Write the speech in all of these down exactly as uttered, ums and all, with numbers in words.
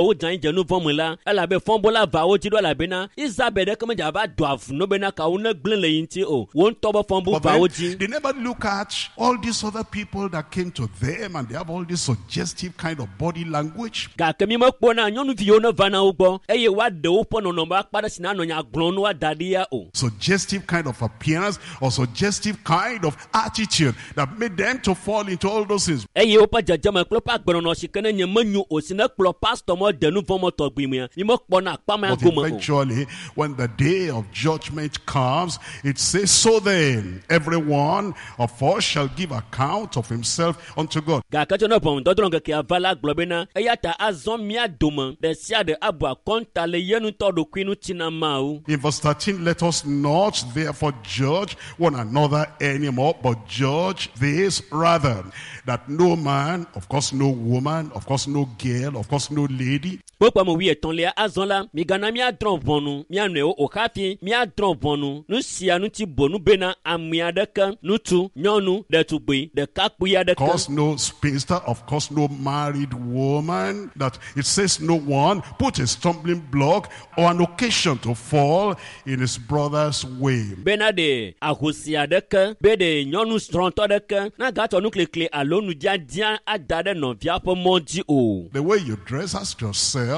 wodze anyi dze nu vɔ̃ me la elabe fɔbɔla va wo dzi ɖo elabena Isabel ɖeke medze ava do avu no bena kawo ne gblẽ le yi ŋuti o wo ŋutɔ be fɔbu But va wo then, dzi they never look at all these other people that came to them and they have all this suggestive kind of body language. Gake mi mekpɔna nyɔnuviwo ne va na wo gbɔ eye woaɖe woƒe nɔnɔme akpa ɖe si nanɔ nya gblɔm ne woada ɖi ya o. Suggestive kind of appearance or suggestive kind of attitude that made them to fall into all those things. Eye woƒe dzedzeme kple woƒe agbenɔnɔ si ke ne nye menyo o si ne kplɔ pastɔ mɔ de nu vɔ̃ mɔ tɔgbi mea mi mekpɔna akpa mea But gome o. eventually, when the day of judgment comes, it says, "So then, every one of us shall give account of himself unto God." Gake tso ne ʋɔnudɔdrɔ̃ ŋkekea va la gblɔ bena eya ta azɔ mía dome ɖe sia ɖe abu akɔnta le ye ŋutɔ ɖokui ŋuti na Mawu. In verse thirteen, "Let us not therefore judge one another anymore, but judge this rather, that no man, of course no woman, of course no girl, of course no lady, Kpokpɔ me wuietɔ̃lia azɔ la migana míadrɔ̃ ʋɔnu mía nɔewo o hafi míadrɔ̃ ʋɔnu nu sia ŋuti bonu bena ame aɖeke ŋutsu nyɔnu ɖetugbui ɖekakpui of aɖeke course no spinster, of course no married woman," that it says no one put a stumbling block or an occasion to fall in his brother's way. Bena ɖe ahosi aɖeke be ɖe nyɔnu srɔ̃tɔ aɖeke nagatsɔ nuklikli alo nudzadzia ada ɖe nɔvia ƒe mɔ dzi o. The way you dress, ask yourself,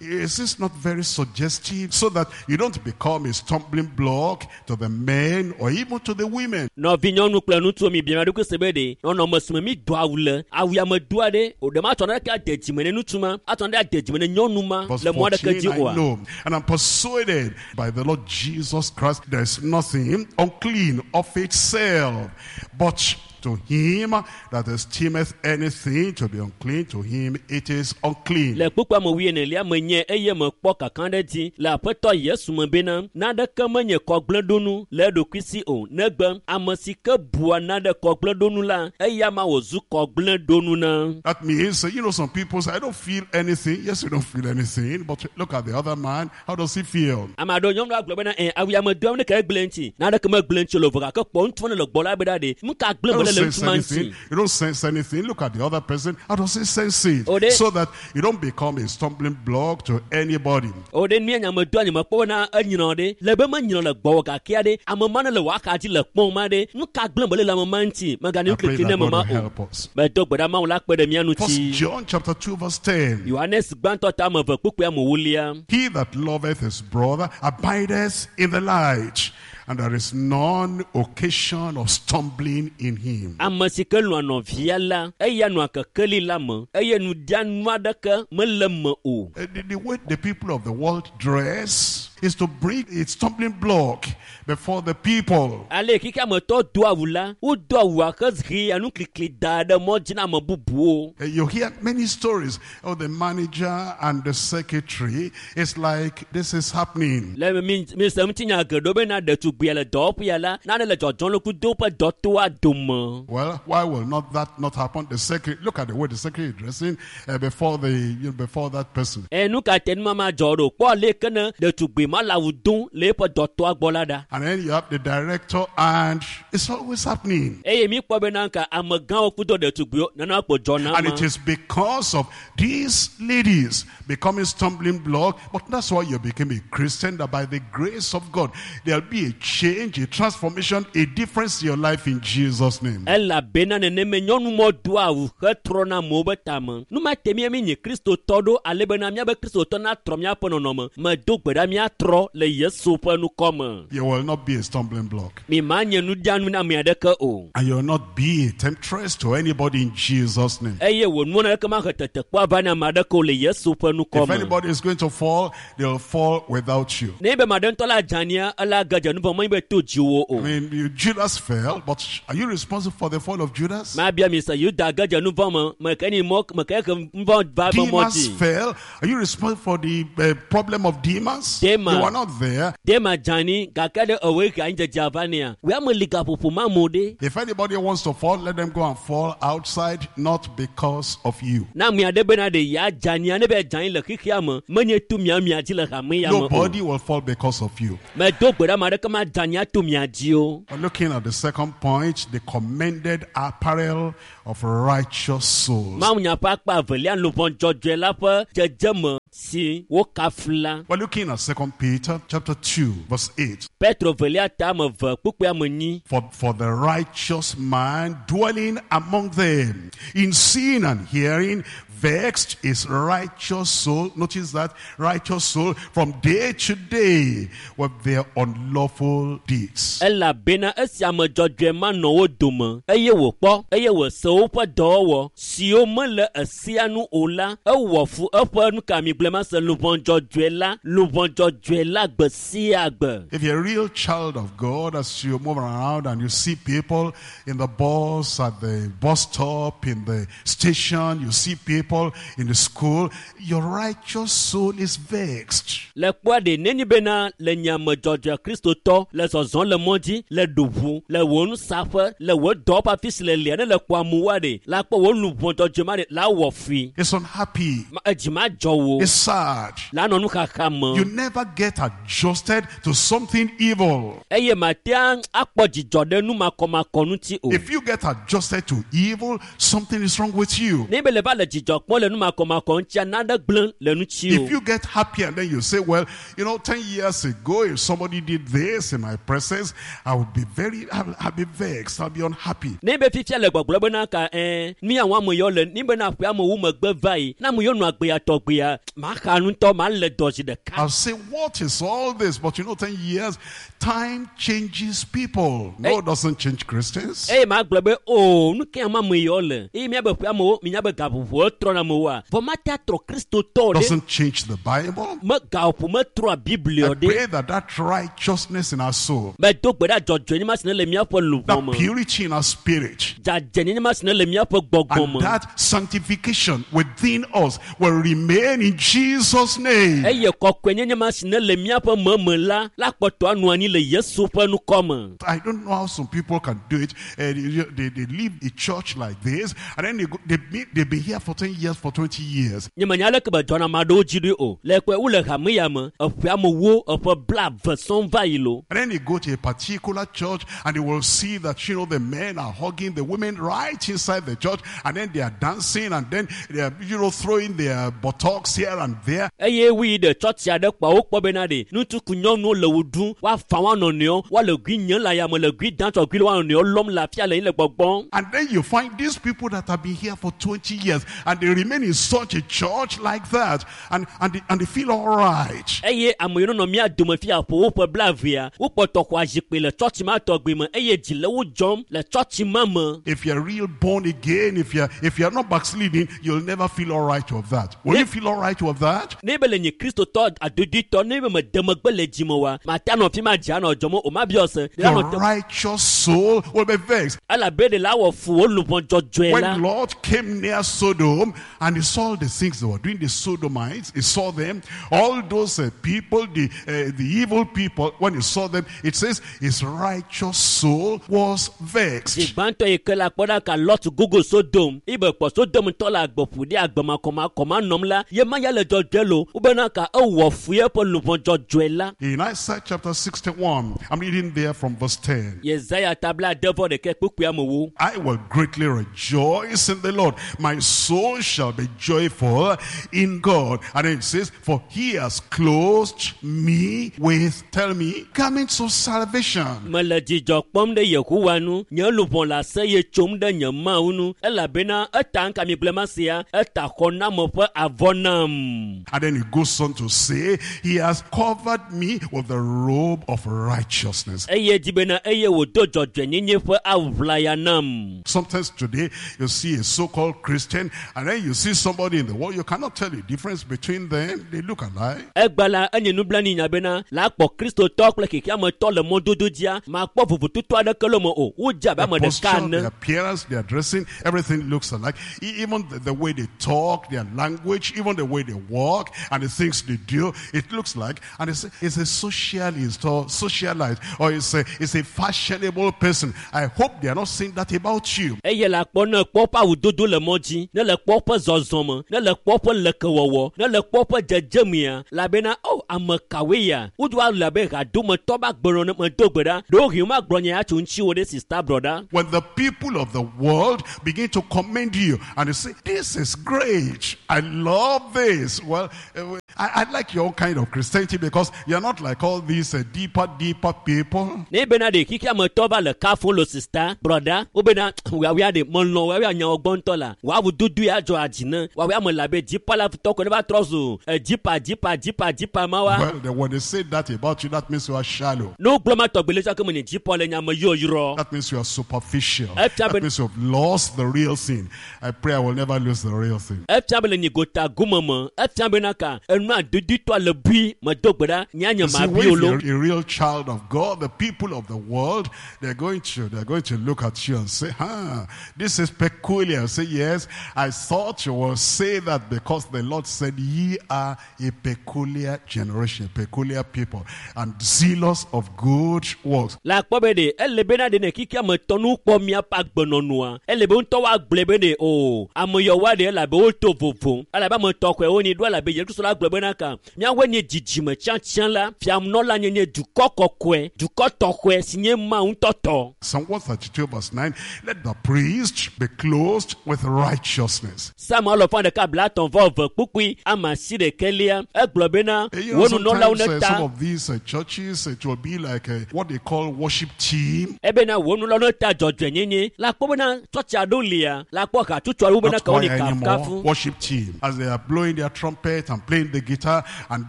is this not very suggestive, so that you don't become a stumbling block to the men or even to the women? Nɔvi nyɔnu kple ŋutsuwo mi bia mia ɖokui se be ɖe nɔnɔme si me mi do awu le awu ya me doa ɖe o ɖe ma tsɔ naneke ade dzime ne ŋutsu ma atsɔ naneke ade dzime ne nyɔnu ma Verse le mɔ aɖeke fourteen, dzi "I oa. know, and I'm persuaded by the Lord Jesus Christ, there is nothing unclean of itself, but to him that esteemeth anything to be unclean, to him it is unclean." Le kpukpua me wuienelia me nye eye mekpɔ kaka ɖe dzi le aƒetɔ Yesu me bena naneke menye kɔgblẽɖonu le eɖokui si o negbe ame si ke bua nane kɔgblẽɖonu la eya ma wòzu kɔgblẽɖonu na. That means, you know, some people say, "I don't feel anything." Yes, you don't feel anything, but look at the other man. How does he feel? Ame aɖewo nyɔnu agblɔ bena ɛ awu ya me doam ne ke egblẽ ŋuti naneke megblẽ ŋuti o le vɔ gake kpɔ ŋutsu ne le gbɔ la be ɖa ɖe nu ka gblẽ You mele don't le sense ŋutsu ma anything. ŋuti. You don't sense anything. Look at the other person. How does he sense it? Oh, they- So that you don't become a stumbling block to anybody. O ɖe nu ya nya me doa nye mekpɔ bena enyrɔ ɖe le be menyrɔ le gbɔwò gakea ɖe ame ma ne le wò axa dzi le kpɔm ma ɖe nu ka gblẽ mele le ame ma ŋuti megane I pray nuklikli ne that me God ma will o. help us. Medo gbe ɖa Mawu la kpe ɖe mía First ŋuti. John chapter two verse ten. Yohanes gbãtɔ ta ame eve kpukpui ame ewolia. "He that loveth his brother abideth in the light, and there is none occasion of stumbling in him." Ame si ke lɔ̃a nɔvia la eya nɔa kekeli la me eye nuɖianu aɖeke mele me o. Uh, The, the way the people of the world dress is to bring a stumbling block before the people. Ale xixia me tɔ do awu la wodo awua hehea nuklikli da ɖe mɔ dzi na ame bubuwo. Uh, You hear many stories of the manager and the secretary. It's like this is happening. Le mi mi se ŋutinya geɖewo bena ɖetugbia le dɔwɔƒea la nane le dzɔdzɔm le kudo woƒe dɔtoa dome. Well, why will not that not happen? The secretary, look at the way the secretary is dressing uh, before the you know, before that person. Ɛ nu ka te numama dzɔ ɖo kpɔ le ke ne ɖetugbui ma le awu dom le eƒe dɔtɔa gbɔ la ɖa. And then you have the director, and it's always happening. Eye mi kpɔ bena ka amegãwo kudo ɖetugbuiwo nana kpo dzɔ na And ma. it is because of these ladies becoming stumbling block. But that's why you became a Christian, that by the grace of God, there'll be a change, a transformation, a difference in your life in Jesus' name. Elabena neneme nyɔnumɔ doa awu hetrɔna amewo be tame. Nu ma te mía mi nye kristotɔ ɖo ale bena míabe kristotɔ natrɔ míaƒe nɔnɔme. Medo gbe ɖa míatrɔ le Yesu ƒe ŋkɔ me. You will not be a stumbling block. Mi ma nye nuɖianu na ame aɖeke o. And you will not be a temptress to anybody in Jesus' name. Eye wò nuwo aɖeke mahe tetekpɔ ava na ame aɖeke o le Yesu ƒe ŋkɔ If me. anybody is going to fall, they'll fall without you. Ne be ame aɖe ŋutɔ la dze ania, ela ge dze nu vɔ̃ menye be to dziwò o. I mean, you, Judas fell, but are you responsible for the fall of Judas? Mabia mi se Yuda ge dze nu vɔ̃ me, meke ni mɔ meke he nu vɔ̃ va be mɔ Demas dzi. fell. Are you responsible for the uh, problem of Demas? Demas. You are not there. Dema dze ani gake ɖe ewoe he anyidzedze va nea. Wòe ame li gaƒoƒo ma amewo ɖe. If anybody wants to fall, let them go and fall outside, not because of you. Na ame aɖe bena ɖe ya dze ania ne be dze anyi le xexea me, menye to mia mia dzi le hame ya me o. Nobody will fall because of you. Medo gbe ɖe ame aɖeke ma dzanya to mia dzi o. We're looking at the second point, the commended apparel of righteous souls. Mawunya ƒe akpa evelia luʋɔ dzɔdzɔe la ƒe dzedzeme si wokafu la. We're looking at Second Peter chapter two, verse eight. Petro velia ta ame eve kpukpui ame enyi. For, for the righteous man dwelling among them, in seeing and hearing, vexed his righteous soul. Notice that, righteous soul, from day to day with their unlawful deeds. Elabena esi ame dzɔdzɔe ma nɔ wo dome eye wòkpɔ eye wòse woƒe dɔwɔwɔ siwo mele esia nu o la, ewɔ fu eƒe nukamigblẽ se luʋɔ dzɔdzɔe la, luʋɔ dzɔdzɔe la gbe sia gbe. If you're a real child of God, as you move around and you see people in the bus, at the bus stop, in the station, you see people in the school, your righteous soul is vexed. Le kpɔa ɖe neni bena le nye ame dzɔdzɔe kristotɔ le zɔzɔm le mɔ dzi, le ɖoʋu, le wò nusaƒe, le wò dɔwɔƒe afi si le lia ne le kpɔ amewoa ɖe, la kpɔ wò luʋɔ dzɔdzɔe ma ɖe la wɔ fui. It's unhappy. Ma- Edzi ma dzɔ wò. It's sad. La nɔ nuxaxa me. You never get adjusted to something evil. Eye matea akpɔ dzidzɔ ɖe numakɔmakɔ ŋuti o. If you get adjusted to evil, something is wrong with you. Ne be le va le dzidzɔ kpɔm le numakɔmakɔ ŋutia, nane gblẽ le ŋuti If o. you get happy and then you say, well, you know, ten years ago, if somebody did this in my presence, I would be very, I'll, I'll be vexed, I'll be unhappy. Ne be fifia le gbɔgblɔ bena ka ɛɛ nu ya wɔm ame yawo le ni bena ƒe amewo megbe va yi na ame yawo nɔ agbea tɔgbea maxa ŋutɔ male dɔ zi ɖeka. I'll say, what is all this? But you know, ten years, time changes people. No, it doesn't change Christians. Eye magblɔ be o nu ke ame yawo le eye miabe ƒe amewo minya be gaƒoƒowo trɔna amewoa vɔ mate atrɔ kristotɔ ɖe Doesn't change the Bible. me gaƒoƒo metrɔa biblia I ɖe. pray that that righteousness in our soul, Medo gbe ɖa dzɔdzɔenye ma si ne le míaƒe luʋɔ that me. purity in our spirit, Dzadzɛnyenye ma si ne le míaƒe gbɔgbɔ and me. that sanctification within us will remain in Jesus' name. Eye kɔkɔenyenye ma si ne le míaƒe meme la la kpɔtɔ anɔ anyi le Yesu ƒe ŋkɔ me. I don't know how some people can do it. Uh, they, they, they leave a church like this, and then they go, they be, they've been here for ten years, for twenty years. Nye menya aleke be dzɔna ame aɖewo dzi ɖoe o. Le kpɔe wole hame ya me, eƒe amewo eƒe blaeve sɔŋ va yi lo. And then they go to a particular church and they will see that, you know, the men are hugging the women right inside the church, and then they are dancing, and then they are, you know, throwing their buttocks here and there. Eye woyi ɖe tsɔtsi aɖe kpɔa wokpɔ bena ɖe ŋutsu ku nyɔnuwo le wo ɖum, woafa woa nɔnɔewo, woale gui nyem le ayame le gui dam tsɔ gui le woa nɔnɔewo lɔm le afia le anyi le gbɔgbɔm. And then you find these people that have been here for twenty years and they remain in such a church like that, and, and, they, and they feel all right. Eye ame yiwo nɔ mía dome fia ƒo woƒe blaevea, wokpɔtɔ xɔa zikpui le tsɔtsi ma tɔgbi me eye dzi le wo dzɔm le tsɔtsi ma me. If you're real born again, if you're, if you're not backsliding, you'll never feel all right with that. Will you feel all right with that? Ne be le nye kristotɔ adodoetɔ, ne be mede megbe le dzime oa, mate anɔ fi ma dzi anɔ dzɔm o, mabiɔ se. Ɖe Your anɔ te- righteous soul will be vexed. Elabe ɖe la wɔ fu wo luʋɔ dzɔdzɔe la. When Lot came near Sodom and he saw the things they were doing, the Sodomites, he saw them, all those uh, people, the, uh, the evil people, when he saw them, it says his righteous soul was vexed. Zi gbãtɔ yi ke la kpɔ ɖa ka Lot gogo Sodom, ibe kpɔ Sodom tɔ le agbe ƒo ɖi agbe makɔmakɔ nɔm la, ye ma ya le dzɔdzɔe lo, wobena ka ewɔ fu eƒe luʋɔ dzɔdzɔe la. In Isaiah chapter sixty-one, I'm reading there from verse ten. Yesaya ta blaade vɔ ɖekɛ kpukpui amewo. I will greatly rejoice in the Lord. My soul shall be joyful in God. And it says, for he has clothed me with, tell me, garments of salvation. Mele dzidzɔ kpɔm ɖe Yehowa nu, nye luʋɔ le aseye tsom ɖe nye Mawu nu, elabena eta ŋka mi gblẽ ma sia, eta xɔname ƒe avɔ nam. And then he goes on to say, he has covered me with the robe of righteousness. Eye dzi bena eye wòdo dzɔdzɔenyenye ƒe awu nam. Sometimes today, you see a so-called Christian, and then you see somebody in the world, you cannot tell the difference between them. They look alike. Egba la enye nublanui nya bena la akpɔ kristotɔ kple xexeametɔ le mɔdodo dzia, makpɔ vovototo aɖeke le me o. Wodze abe Their ame ɖeka posture, ene. their appearance, their dressing, everything looks alike. E- Even the, the way they talk, their language, even the way they they walk and the things they do, it looks like, and it's, it's a socialist or socialite or it's a, it's a fashionable person. I hope they are not saying that about you. Eye le akpɔ ne kpɔ ƒe awudodo le mɔ dzi, ne le kpɔ ƒe zɔzɔme, ne le kpɔ ƒe lekewɔwɔ, ne le kpɔ ƒe dzedzemea, elabena o ame kawoe ya wodo le abe hadometɔ be agbenɔnɔ ne medo gbe ɖa ɖewohĩ womagblɔ nya ya tso ŋutiwò ɖe sista brɔda. When the people of the world begin to commend you and they say, this is great, I love this. Well, uh, I, I like your kind of Christianity because you're not like all these uh, deeper, deeper people. Ne bena ɖe xixeametɔ va le kafum le sista brɔda wobena woawoa ɖe melɔ̃ woawoa nyawo gbɔ ŋutɔ la woawu dodo ya dzɔ adzi ne woawoa me le abe dzipala tɔ ko ne va trɔ zu edzipa dzipa dzipa dzipa ma wa. Well, then when they say that about you, that means you are shallow. Ne wogblɔ ma tɔgbi le tsɔ ke me nye dzipɔ le nya me yɔyrɔ. That means you are superficial. Efia That be- means you've lost the real thing. I pray I will never lose the real thing. Efia be le nyi gota gome me efia bena ka enua doditɔ le bui medo gbe ɖa nya nye You see, ma when bi o lo. you're a real child of God, the people of the world, they're going to, they're going to look at you and say, huh, this is peculiar. Say, yes, I thought you will say that because the Lord said, ye are a peculiar generation, peculiar people, and zealous of good works. Le akpɔ be ɖe ele bena ɖe ne xixeame tɔ nu kpɔ miaƒe agbenɔnua ele be ŋutɔ woagblɔe be ɖe o ame yawoa ɖe elabe woto vovo elabe ame tɔxɔe wonyi ɖo elabe Yesu Kristo la gblɔ bena ka miawoe nye dzidzime tsiãtsiã la fianɔla nye nye dukɔ kɔkɔe dukɔ tɔxɔe si nye Mawu ŋutɔ tɔ. Psalm one thirty-two verse nine, let the priest be clothed with righteousness. Psalm alɔfa ɖeka blaetɔ̃ vɔ eve kpukpui ame asi ɖekɛlia egblɔ bena Eh, You know, wo nunɔlawo sometimes ne uh, some ta of these uh, churches, it will be like uh, what they call worship team. ebena wo nunɔlawo ne ta dzɔdzɔenyenye la kpɔ bena tsɔtsi aɖewo lia la kpɔ hatsotso aɖewo bena Not ka wonyi choir anymore, kafukafu. worship team. As they are blowing their trumpet and playing the guitar, and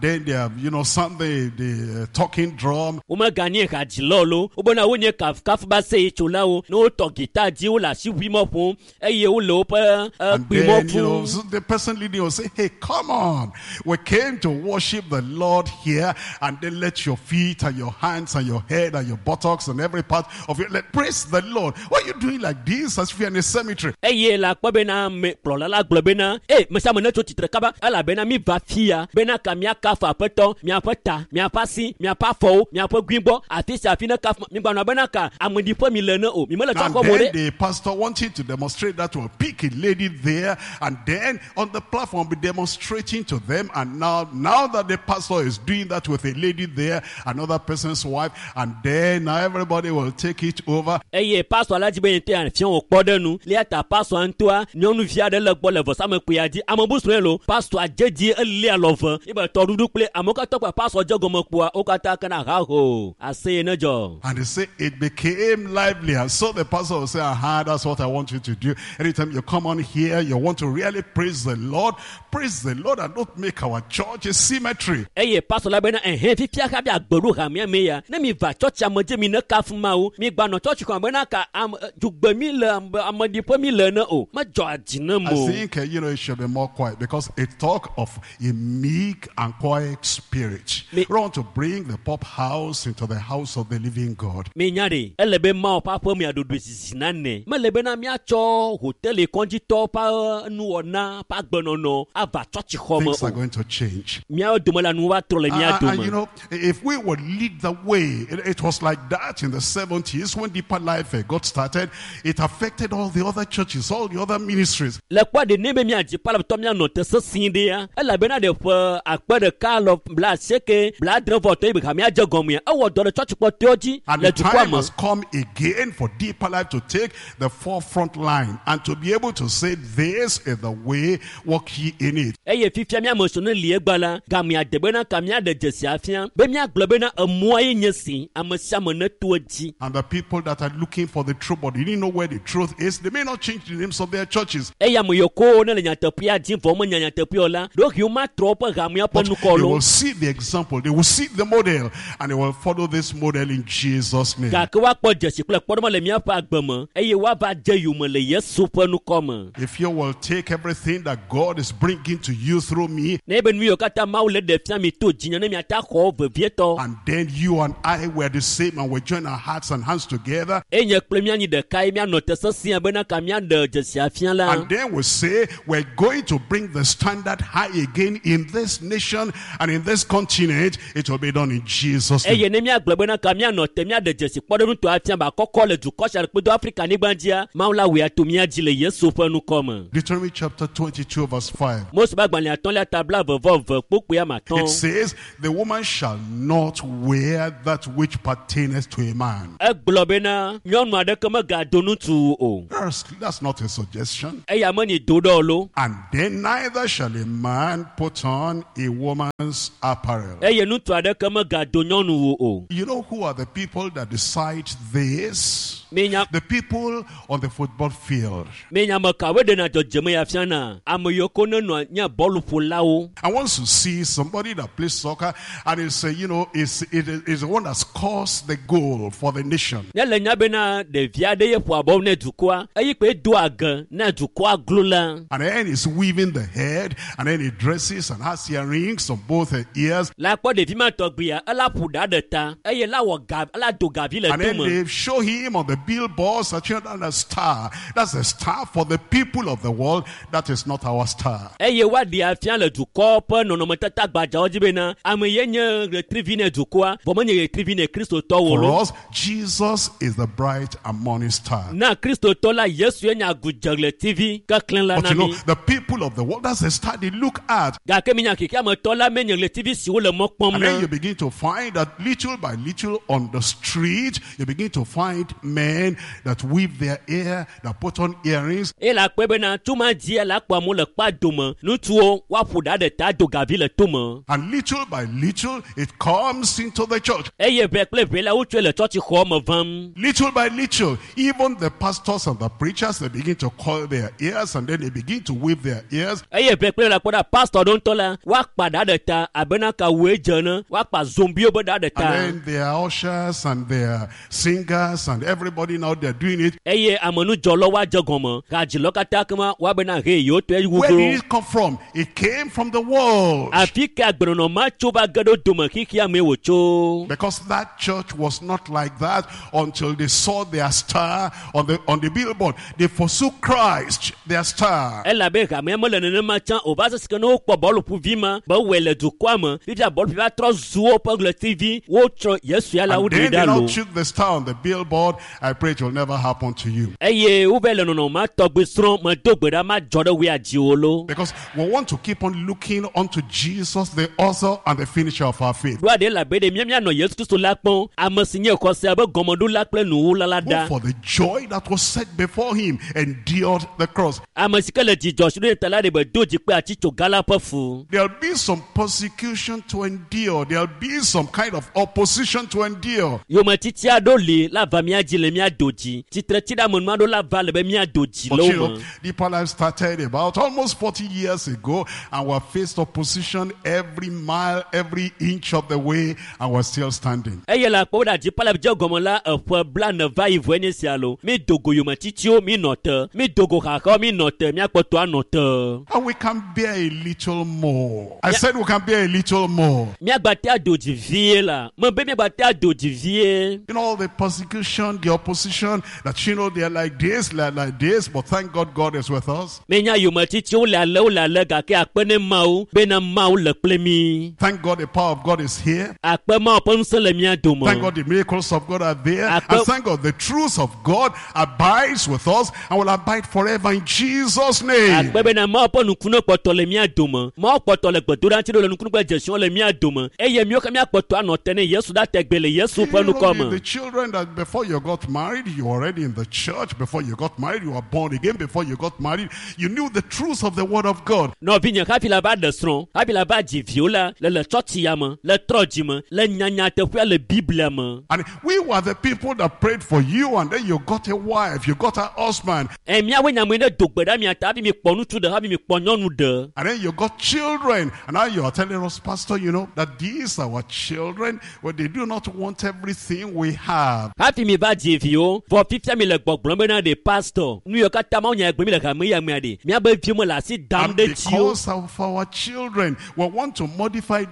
then they are, you know, sound the, the uh, talking drum. Womeganye hadzilawo lo wobena wonye kafukafu be aseyetsolawo ne wotɔ gita dzi wole asiʋuimɔ ƒom eye wole woƒe And ekpuimɔ then, you know, fum. so the person leading will say, hey, come on. We came to worship the Lord here. And then let your feet and your hands and your head and your buttocks and every part of you, let praise the Lord. Why are you doing like this as if you're in a cemetery? Eye le akpɔ bena ame kplɔla la gblɔ bena e me sia ame netso tsitre kaba elabena mi va fia bena ka miakafu aƒetɔ miaƒe ta miaƒe asi miaƒe afɔwo miaƒe guigbɔ afi sia afi ne kafu migbanɔ bena ka ameɖiƒe mi le ne o mi mele And tsɔxɔ mo then ɖe. the pastor wanted to demonstrate that will pick a lady there and then on the platform be demonstrating to them. And now, now that the pastor is doing that with a lady there, another person's wife, and then now everybody will take it over. Eye pastor la dzi be yete afia wò kpɔ ɖe nu lia ta pastor ŋutɔa nyɔnuvi aɖe le gbɔ le vɔsamekpuia dzi ame bu srɔ̃e lo pastor dze dzi eli alɔve ebe tɔɖuɖu kple amewo katã kpa pastor dze gɔme kpoa wo katã kena haho aseye ne dzɔ. And they say it became lively. And so the pastor will say, aha, that's what I want you to do. Anytime you come on here, you want to really praise the Lord. Praise the Lord and don't make our church a cemetery. Eye pastor la bena ɛhɛn fifia hafi agbe ɖo hamea me ya ne mi va tsɔtsi ame dzi mi ne kafu mawu mi gbanɔ tsɔtsi xɔ bena ka ame dzugbe mi le ame ameɖiƒe mi le ne o medzɔ adzi ne I mo. think, uh, you know, it should be more quiet because it talk of a meek and quiet spirit. Me- We want to bring the pop house into the house of the living God. Mi nya ɖe ele be Mawu ƒe aƒe mia ɖoɖoe zizi nane mele bena míatsɔ hoteli kɔdzitɔ ƒe nuwɔna ƒe agbenɔnɔ ava tsɔtsixɔ me Things are o. going to change. Míawo dome la nuwo va trɔ le mía And, and, you dome. know, if we would lead the way, it, it was like that in the seventies when Deeper Life uh, got started. It affected all the other churches, all the other ministries. Le kpɔ ɖe ne be míadzi palaptɔ míanɔ te sesĩ ɖea elabena ɖe ƒe akpe ɖeka alɔ bla asieke bla adre vɔ tɔ yi be hamea dze gɔmea ewɔ dɔ ɖe tsɔtsikpɔtɔewo dzi And le the dukɔa time me. has come again for Deeper Life to take the forefront line and to be able to say, this is the way, walk ye in it. Eye fifia míame sɔ ne li egba la gamea de bena ka míaɖe dzesi afia be míagblɔ bena emɔa ye nye si ame sia ame neto edzi. And the people that are looking for the truth, but they didn't know where the truth is, they may not change the names of their churches. Eye ame yiwo ko ne le nyateƒea dim vɔ womenya nyateƒea o la ɖewohĩ womatrɔ woƒe hamea ƒe But nukɔ they lo. will see the example, they will see the model, and they will follow this model in Jesus' name. Gake woakpɔ dzesi kple kpɔɖeŋu le míaƒe agbe me eye woava dze yome le Yesu ƒe nukɔ me. If you will take everything that God is bringing to you through me, Ne be nu yiwo katã Mawu le ɖe fia mi to dzinye ne miate axɔ wo vevietɔ. and then you and I were the same, and we join our hearts and hands together, Eye nye kple míanyi ɖeka ye míanɔ te sesĩa bena ka míaɖe dzesi afia la. and then we say we're going to bring the standard that high again in this nation and in this continent, it will be done in Jesus' name. Eye ne míagblɔ bena ka míanɔ te míaɖe dzesi kpɔɖeŋutɔ afia be akɔkɔ le dukɔ sia kpedo Afrika nyigba dzia, Mawu la wɔe ato mía dzi le Yesu ƒe ŋkɔ me. Deuteronomy chapter twenty-two, verse five. Mose ƒe agbalẽ atɔ̃lia ta blaeve vɔ eve kpukpui ame It atɔ̃. says, the woman shall not wear that which pertaineth to a man. Egblɔ bena nyɔnu aɖeke megado ŋutsu o. That's, that's not a suggestion. Eya menyi do ɖe o lo. And then neither shall a man put on a woman's apparel. Eye ŋutsu aɖeke megado nyɔnuwo o. You know who are the people that decide this? Minya The people on the football field. minya ame kawoe ɖena dzɔdzɔme ya fiana? Ame yiwo ko nenɔa nye bɔluƒolawo. And once you see somebody that plays soccer and is, uh, you know, is, it is, is the one that scores the goal for the nation. Ne le nya bena ɖevi aɖe ye ƒoa bɔlu ne dukɔa, eyi kpe do age ne dukɔa glo la. And then he's weaving the head, and then he dresses and has earrings on both the ears. La kpɔ ɖevi ma tɔgbia, ela ƒo ɖa ɖe ta eye la wɔ ga, ela do gavi le And then tome. they show him on the billboards that you know, that's a star. That's a star for the people of the world. That is not our star. Eye woaɖe afia le dukɔ ƒe nɔnɔmetata gbadzawo dzi bena ame ye nye ɣletrivi ne dukɔa, vɔ menye ɣletrivi ne kristotɔwo For lo. us, Jesus is the bright and morning star. Na kristotɔ la, Yesu ye nye agudze ɣletivi keklẽ la But na you know, mi. the people of the world, that's the star they look at. Gake minya xexeametɔ la menye ɣletivi siwo le mɔ kpɔm And then na. you begin to find that little by little on the street, you begin to find men that weave their hair, that put on earrings. Eye le akpɔe bena tuma dzia le akpɔ amewo le kpa dome. Ŋutsuwo woaƒo ɖa ɖe ta do gavi le tome. And little by little, it comes into the church. Eye ʋɛ kple ʋɛ la wotsɔe le tsɔtsixɔ me vam. Little by little, even the pastors and the preachers, they begin to coil their ears and then they begin to weave their ears. Eye ʋɛ kple ʋɛ la kpɔ ɖa pastor ɖewo ŋutɔ la woakpa ɖa ɖe ta abena ka woe dze ne woakpa zombiwo be ɖa ɖe And ta. then their ushers and their singers and everybody now they're doing it. Eye amenudzɔlawo woadze gɔme hadzilɔ katã kema woabena he yewo tɔe Where wuglo. did it come from? It came from the world. Afi ka agbenɔnɔ ma tso va ge ɖo dome xexea mee wòtso. Because that church was not like that until they saw their star on the on the billboard. They forsook Christ, their star. Elabe hamea mele nenema tsã o va se si ke ne wokpɔ bɔluƒuvi ma be wɔe le dukɔa me fifia bɔluƒuvi va trɔ zu woƒe ɣletivi wotsɔ Yesu ya la And woɖe then they ɖa now lo. took the star on the billboard. I pray it will never happen to you. Eye wova le nɔnɔme ma tɔgbi srɔ̃ medo gbe ɖa madzɔ ɖe woa dziwò lo. Because we want to keep on looking unto Jesus, the author and the finisher of our faith. Ɖoa ɖe elabe ɖe mía míanɔ Yesu Kristo la kpɔm ame si nye xɔsea be gɔmeɖola kple nuwula la Who ɖa. for the joy that was set before him endured the cross. Ame si ke le dzidzɔ si ɖo ta la ɖe be do dzi kple atitsoga la ƒe fu. There'll be some persecution to endure. There'll be some kind of opposition to endure. Yometiti aɖewo li la va mía dzi le mía do dzi. Tsitretsiɖeamenu aɖewo la va le be mía do dzi But le you wo know, me. Deeper Life started about almost forty years ago, and we faced opposition every mile, every inch of the way, and we're still standing. Eye le akpɔ ɖe Deeper Life dze gɔme la eƒe blaene va yi vɔe nye sia lo. Mi do go yometitiwo mi nɔ te. Mi do go xaxawo mi nɔ te. Míakpɔtɔ anɔ te. And we can bear a little more. I said we can bear a little more. Míagbate ado dzi vie la. Mebe míagbate ado dzi vie. You know, the persecution, the opposition, that you know they're like this, they're like this, but thank God God is with us. Menya yometitiwo le ale wole ale gake akpe ne Mawu bena Mawu le kple mi. Thank God the power of God is here. Akpe Mawu ƒe ŋusẽ le mía dome. Thank God the miracles of God are there. Akpe- And thank God the truth of God abides with us and will abide forever in Jesus' name. Akpe bena Mawu ƒe nukunu kpɔtɔ le mía dome. Mawu kpɔtɔ le gbedoɖa ŋuti ɖo le nukunu kple dzesiwo le mía dome. Eye míwo ke míakpɔtɔ anɔ te ne Yesu ɖa tegbe le Yesu ƒe You know, ŋkɔ the, the me. children that before you got married, you were already in the church. Before you got married, you were born again. Before you got married, you knew the truth of the word of God. Nɔvinye hafi la va ɖe srɔ̃, hafi la va dzi viwo la, le le tsɔtsi ya me, le trɔ dzi me, le nyanyateƒea le Biblia me. And we were the people that prayed for you, and then you got a wife, you got a husband, Ɛ míawoe nye ame yi ne do gbe ɖa mia ta hafi mi kpɔ ŋutsu ɖe, hafi mi kpɔ nyɔnu ɖe. and then you got children. And now you are telling us, Pastor, you know, that these our children, well, they do not want everything we have. Hafi mi va dzi viwo vɔ fifia mi le gbɔgblɔm bena ɖe pastor nu yiwo katã mawu nya gblɔm mi le hame ya mea ɖe miabe viwo me le asi dam And ɖe dziwo because of our children, we want to modify,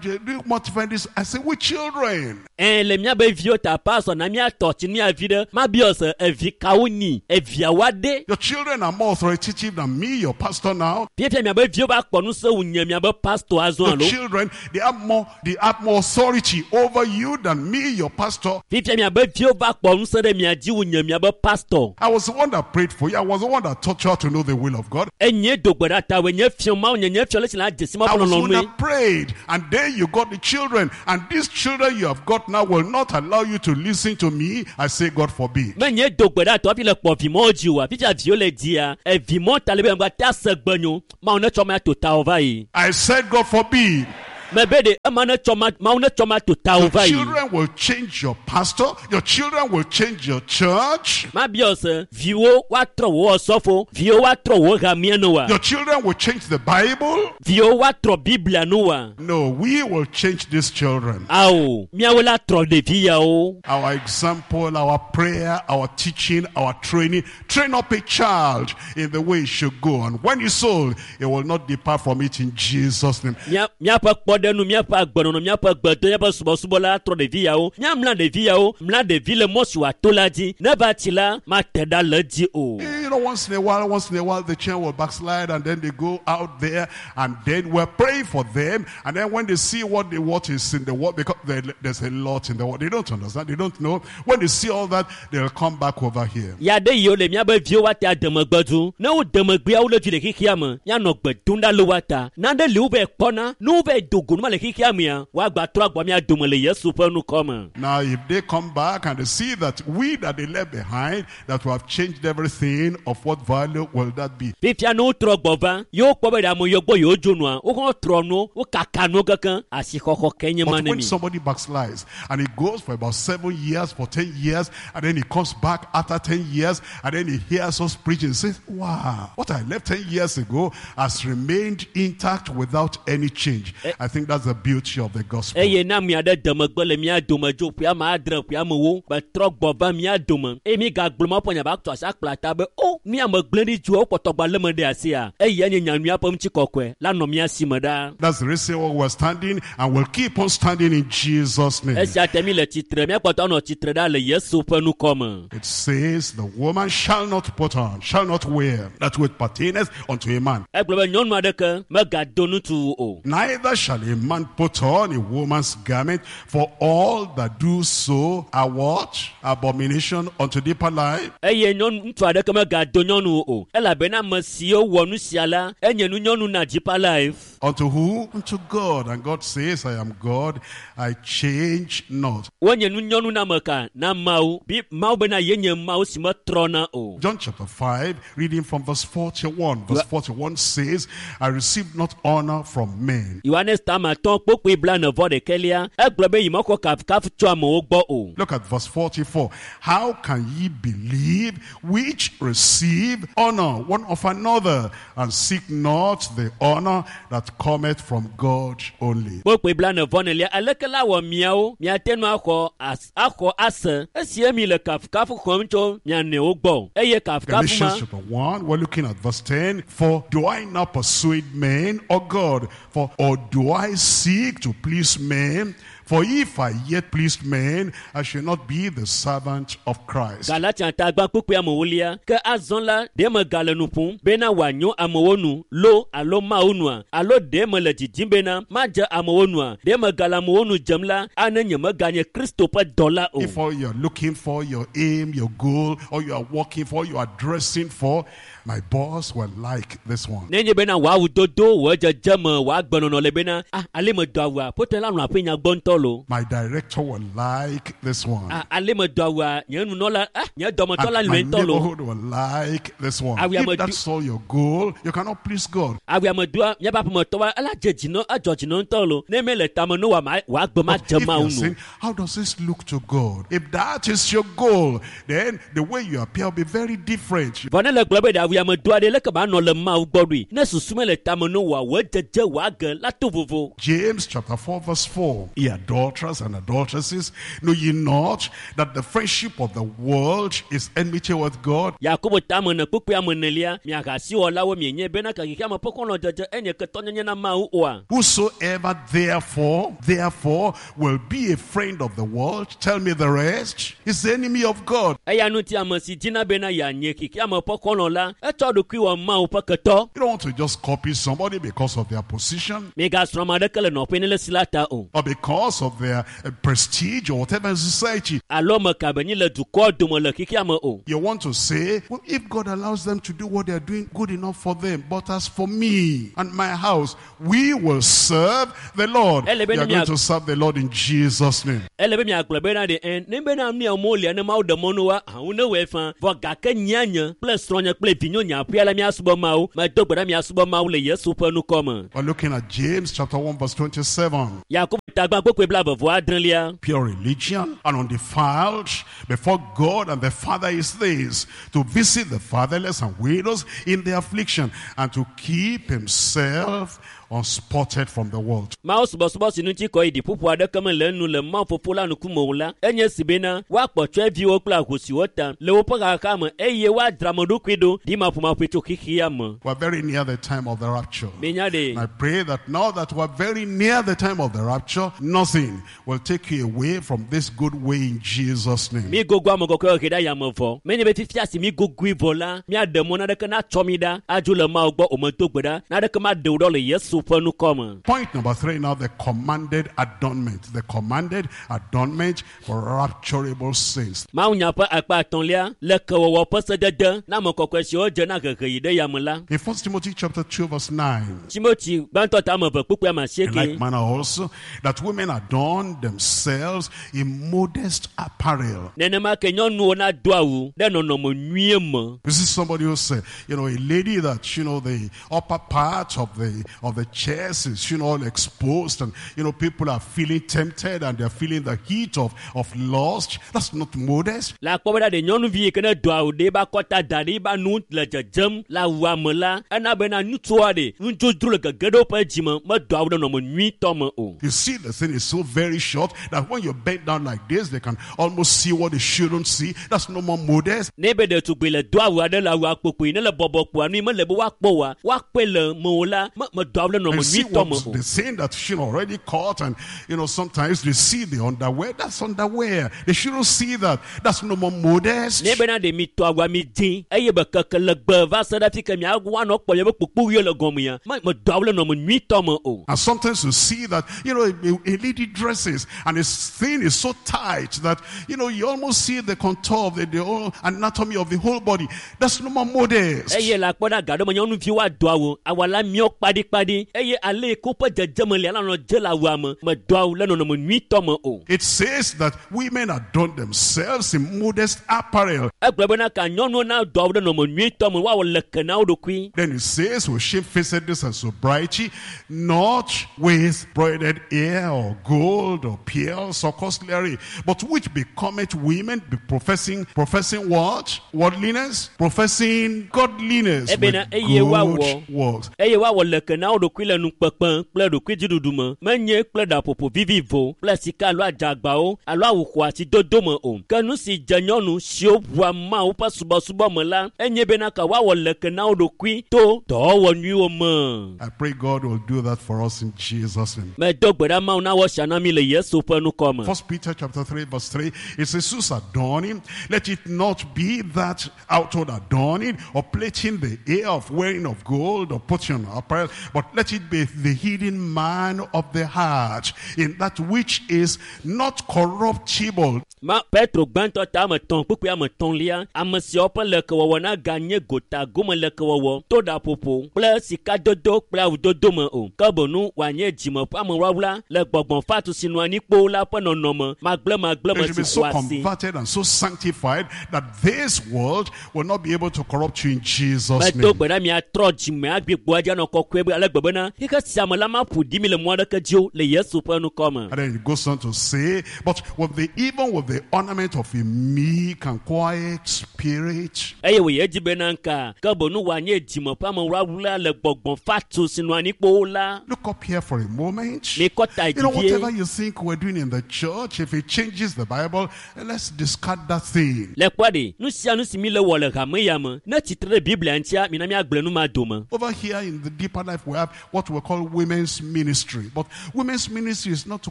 modify this. I say, we children. Ɛ le miabe viwo ta pastor na miatɔ tsi mia vi ɖe mabiɔ se evi kawo nyi eviawo aɖe Your children are more authoritative than me, your pastor now. fifia miabe viwo va kpɔ ŋusẽ wu nye miabe pastor azɔ Your alo children, they have more, they have more authority over you than me, your pastor. fifia miabe viwo va kpɔ ŋusẽ ɖe mia dzi wu nye miabe pastor I was the one that prayed for you. I was the one that taught you how to know the will of God. enye do gbe ɖa ta woe nye fiɔ mawu nye nye fiɔ le si la dzesi mawu I ƒe was the one lɔlɔ̃nue that prayed. And then you got the children. And these children you have got now will not allow you to listen to me. I say, God forbid. menye do gbe ɖa tɔ hafi le kpɔ vimɔwo dzi oa fifia viwo le dzia evimɔ ta le be ŋgba te ase gbe nyo mawu ne tsɔ ma to tawo va yi I said, God forbid. mebe ɖe ema ne tsɔ ma mawu ne tsɔ ma to tawo Your va yi children will change your pastor. Your children will change your church. mabiɔ se viwo woatrɔ wò ɔsɔfo viwo woatrɔ wò hamea nu wa Your children will change the Bible. viwo woatrɔ biblia nu wa No, we will change these children. awo miawo la trɔ ɖevi yawo Our example, our prayer, our teaching, our training. Train up a child in the way he should go. And when he's old, he will not depart from it in Jesus' name. Mía- míaƒe kpɔɖeŋu míaƒe agbenɔnɔ míaƒe gbedo míaƒe subɔsubɔ la trɔ ɖevi yawo míamla ɖevi yawo mla ɖevi le mɔ si wòato la dzi ne va tsi la mate ɖa le edzi o You know, once in a while, once in a while, the children will backslide and then they go out there and then we're praying for them. And then when they see what the what is in the world, because there, there's a lot in the world, they don't understand, they don't know. When they see all that, they'll come back over here. Ya ɖe yiwo le míabe viwo woate ademegbe du ne wo demegbea wo le dzi le xexea me míanɔ gbe dom ɖa le woa ta nane li wovɛ kpɔna ne wovɛ do go numa le xexea mea woagba trɔ agbɔ mía dome le yesu ƒe nukɔ me Now, if they come back and they see that we that they left behind, that we have changed everything, of what value will that be? fifia ne wotrɔ gbɔ va yewo kpɔ be ɖe ame yiwo gbɔ yewo dzo nua wohã trɔ nuwo wokaka nuwo kekeŋ asixɔxɔ ke nye ma But ne when mi somebody backslides and he goes for about seven years, for ten years, and then he comes back after ten years, and then he hears us preaching and says, wow, what I left ten years ago has remained intact without any change. I think that's the beauty of the gospel. eye na ame aɖe demegbe le mía dome dzo ƒe ame adre ƒe amewo betrɔ gbɔ va mía dome eye mi gagblɔ ma ƒe nya va tɔ asi akpla ta be o mía ame gblẽ ɖi dzoa wokpɔtɔ gba lé me ɖe asia eye nye nyanyuia ƒe ŋutikɔkɔe la nɔ mía si me ɖaa That's the reason why we're standing and we'll keep on standing in Jesus' name. esia te mi le tsitre míakpɔtɔ anɔ tsitre ɖa le yesu ƒe nukɔ me It says, the woman shall not put on, shall not wear that which pertaineth unto a man. egblɔ be nyɔnu aɖeke megado ŋutsu o Neither shall a man put on a woman's garment, for all that do so are what? Abomination unto deeper life. eye nyɔnu ŋutsu aɖeke megado nyɔnu o elabena ame siwo wɔ nu sia la enye nu nyɔnu na deeper life Unto who? Unto God. And God says, I am God, I change not. wonye nu nyɔnu na ame ka na mawu bi mawu bena yenye mawu si metrɔna o John chapter five, reading from verse forty-one. Verse forty-one says, I received not honor from men. yohanes tama atɔ̃ kpokpoe blaene vɔ ɖekɛlia egblɔ be yi mexɔ kafukafu tso amewo gbɔ o Look at verse forty-four. How can ye believe which receive honor one of another and seek not the honor that cometh from God only? kpokpoe blaene vɔ nelia aleke la wɔ miawo miate ŋu axɔ as axɔ ase esie mi le kafukafu xɔm tso mia nɔewo gbɔ eye kafukafu ma Galatians chapter one, we're looking at verse ten. For do I now persuade men or God? For or do I seek to please men? For if I yet pleased men, I shall not be the servant of Christ. Galatia ta gbã kpukpui amewolia ke azɔ la ɖe megale nu ƒom bena wòanyo amewo nu lo alo mawu nua alo ɖe mele didim bena madze amewo nua ɖe megale amewo nu dzem la ane nye meganye Kristo ƒe dɔla o. If all you're looking for, your aim, your goal, or you are working for, you are dressing for, my boss will like this one. Nenye bena wò awudodo wò dzedzeme wò agbenɔnɔ le bena ah ale medo awua ƒote la lɔ̃ aƒe nya gbɔ ŋutɔ lo. My director will like this one. Ah ale medo awua nye nunɔla ah nye dɔmetɔ la And my lɔ̃e ŋutɔ lo. neighborhood will like this one. Ah, we are If do- that's all your goal, you cannot please God. Awua medoa míaƒe aƒemetɔwoa ela dze dzi nɔ edzɔ dzi nɔ ŋutɔ lo. Ne mele tame no wòa ma wò agbe ma But dze if Mawu you're nu. saying, how does this look to God? If that is your goal, then the way you appear will be very different. Vɔ ne le gblɔ be ɖe awu yamedoa ɖe leke ba nɔ le Mawu gbɔ ɖoe ne susu mele tame no wòawɔ dzedze wòage la to vovo. James chapter four verse four. Ye adulterers and adulteresses, know ye not that the friendship of the world is enmity with God? Yakobo tame ne kpukpui ame enelia miahasiwɔlawo mienye bena ke xexeame ƒe xɔlɔ̃dzedze enye ketɔnyenye na Mawu oa? Whosoever therefore, therefore will be a friend of the world, tell me the rest, is the enemy of God. Eya ŋuti ame si dzina bena yeanye xexeame ƒe xɔlɔ̃ la, etsɔ ɖokui wɔ Mawu ƒe ketɔ. You don't want to just copy somebody because of their position Migasrɔ̃ ame aɖeke le nɔƒe ne le si la ta o. or because of their uh, prestige or whatever in society. Alo ame ka be nyi le dukɔ dome le xexeame o. You want to say, well, if God allows them to do what they are doing, good enough for them. But as for me and my house, we will serve the Lord. Ele We be are ne going mia- to serve the Lord in Jesus' name. Ele be miagblɔ bena ɖe ɛ ne bena nu ya molia ne Mawu ɖe mɔ no wa hawo ne wɔe fã vɔ gake nyia nye kple srɔ̃nye kple vinyo nye aƒea la miasubɔ Mawu medo gbe ɖa miasubɔ Mawu le Yesu ƒe ŋkɔ me. We're looking at James chapter one verse twenty-seven. Yakobo tagba kpukpui blaeve vɔ adrelia. Pure religion and undefiled before God and the Father is this, to visit the fatherless and widows in their affliction and to keep himself unspotted from the world. Mawu subɔsubɔ si ŋuti kɔ yi ɖiƒoƒo aɖeke mele enu le Mawu fofo la ŋkume o la, enye si bena woakpɔ tsɔeviwo kple ahosiwo ta le woƒe xaxa me eye woadzra ame ɖokui ɖo ɖimaƒomaƒoe tso xexea me. We're very near the time of the rapture. Minya ɖe. And I pray that now that we're very near the time of the rapture, nothing will take you away from this good way in Jesus' name. Mi gogo ame kɔkɔewo he ɖe ayame vɔ. Menye be fifia si mi gogoe vɔ la, miaɖe mɔ naneke natsɔ mi ɖa adzo le Mawu gbɔ o medo gbe ɖa. Naneke maɖe wò ɖɔ le Yesu ƒe ŋkɔ me. Point number three now, the commanded adornment. The commanded adornment for rapturable saints. Mawunya ƒe akpa atɔ̃lia le kewɔwɔ ƒe sedede na ame kɔkɔe siwo dze na hehe yi ɖe yame la. In First Timothy chapter two verse nine. Timothy gbãtɔ ta ame eve kpukpui ame In asieke. like manner also, that women adorn themselves in modest apparel. Nenema ke nyɔnuwo nado awu ɖe nɔnɔme nyuie me. You see somebody who say, you know, a lady that, you know, the upper part of the of the chest is, you know, all exposed, and, you know, people are feeling tempted and they're feeling the heat of, of lust. That's not modest. Le akpɔ bena ɖe nyɔnuvi yi ke ne do awu ɖe eba kɔta da ɖe eba nu le dzedzem le awua me la, ena bena ŋutsua ɖe nudzodzro le gege ɖe woƒe dzime medo awu ɖe nɔnɔme nyuitɔ me o. You see, the thing is so very short that when you bend down like this, they can almost see what they shouldn't see. That's no more modest. Ne be ɖetugbui le do awu aɖe le awua kpokpoe ne le bɔbɔ kpoa nu yi mele be woakpɔ oa, woakpɔe le mewò la, me medo awu ɖe nɔnɔme And see nyuitɔ me what o. the thing that she already caught, and you know, sometimes they see the underwear. That's underwear. They shouldn't see that. That's no more modest. Ne bena ɖe mi tɔ awua mi dzi eye be keke le gbe va se ɖe afi ke mia woanɔ kpɔ miabe kpokpoɣiwo le gɔmea, me medo awu ɖe nɔnɔme nyuitɔ me o. And sometimes you see that, you know, a, a lady dresses and his thing is so tight that, you know, you almost see the contour of the, the whole anatomy of the whole body. That's no more modest. Eye le akpɔ ɖe aga ɖe me nyɔnuviwo ado awu, awu la miɔ kpaɖikpaɖi eye ale yi ke woƒe dzedzeme lia la nɔ dze le awua me, medo awu le nɔnɔme nyuitɔ me o. It says that women adorn themselves in modest apparel. Egblɔ bena ka nyɔnuwo nado awu ɖe nɔnɔme nyuitɔ me, woawɔ leke na wo ɖokui. Then it says, with shamefacedness and sobriety, not with broidered hair or gold or pearls or costly array, but which becometh women, be professing, professing what? Worldliness? Professing godliness with Ebena eye woawɔ good works. eye woawɔ leke na wo ɖokui le nukpekpe kple ɖokuidziɖuɖu me, menye kple ɖaƒoƒo vivivo kple sika alo adzagbawo alo awu xɔasi dodo me o. Ke nu si dze nyɔnu siwo ʋua Mawu ƒe subɔsubɔ me la, enye bena ka woawɔ leke na wo ɖokui to dɔwɔwɔ nyuiwo me. I pray God will do that for us in Jesus' name. Medo gbe ɖa Mawu nawɔ sia na mi le Yesu ƒe ŋkɔ me. First Peter chapter three verse three, it says, whose adorning, let it not be that outward adorning or plaiting the hair of wearing of gold or putting on apparel, but let it be the hidden man of the heart, in that which is not corruptible. Ma Petro gbãtɔ ta ame etɔ̃ kpukpui ame etɔ̃lia, ame siawo ƒe lekewɔwɔ naganye gota gome lekewɔwɔ to ɖaƒoƒo kple sikadodo kple awudodo me o, ke boŋu wòanye dzime ƒe amewlawla le gbɔgbɔ fatu si nɔ anyi kpoo la ƒe nɔnɔme magblẽmagblẽ You should me be si so xɔ asi. converted and so sanctified that this world will not be able to corrupt you in Jesus' Medo name. gbe ɖa miatrɔ dzime agbigbo adzi anɔ kɔkɔe be ale gbe bena xixe sia me la maƒo ɖi mi le mɔ aɖeke dzi o le Yesu ƒe ŋkɔ me. And then it goes on to say, but with the even with the ornament of a meek and quiet spirit, eye wòye edzi bena nka ke bonu wòanye dzime ƒe amewlawla le gbɔgbɔ fatu si nɔ anyi kpoo la. Look up here for a moment. Mikɔ ta You know, dzi vie. whatever you think we're doing in the church, if it changes the Bible, let's discard that thing. Le kpɔ ɖe nu sia nu si mi le wɔ le hame ya me ne tsitre ɖe Biblia ŋutia mina míagblẽ nu ma dome. Over here in the Deeper Life, we have what we call women's ministry. But women's ministry is not to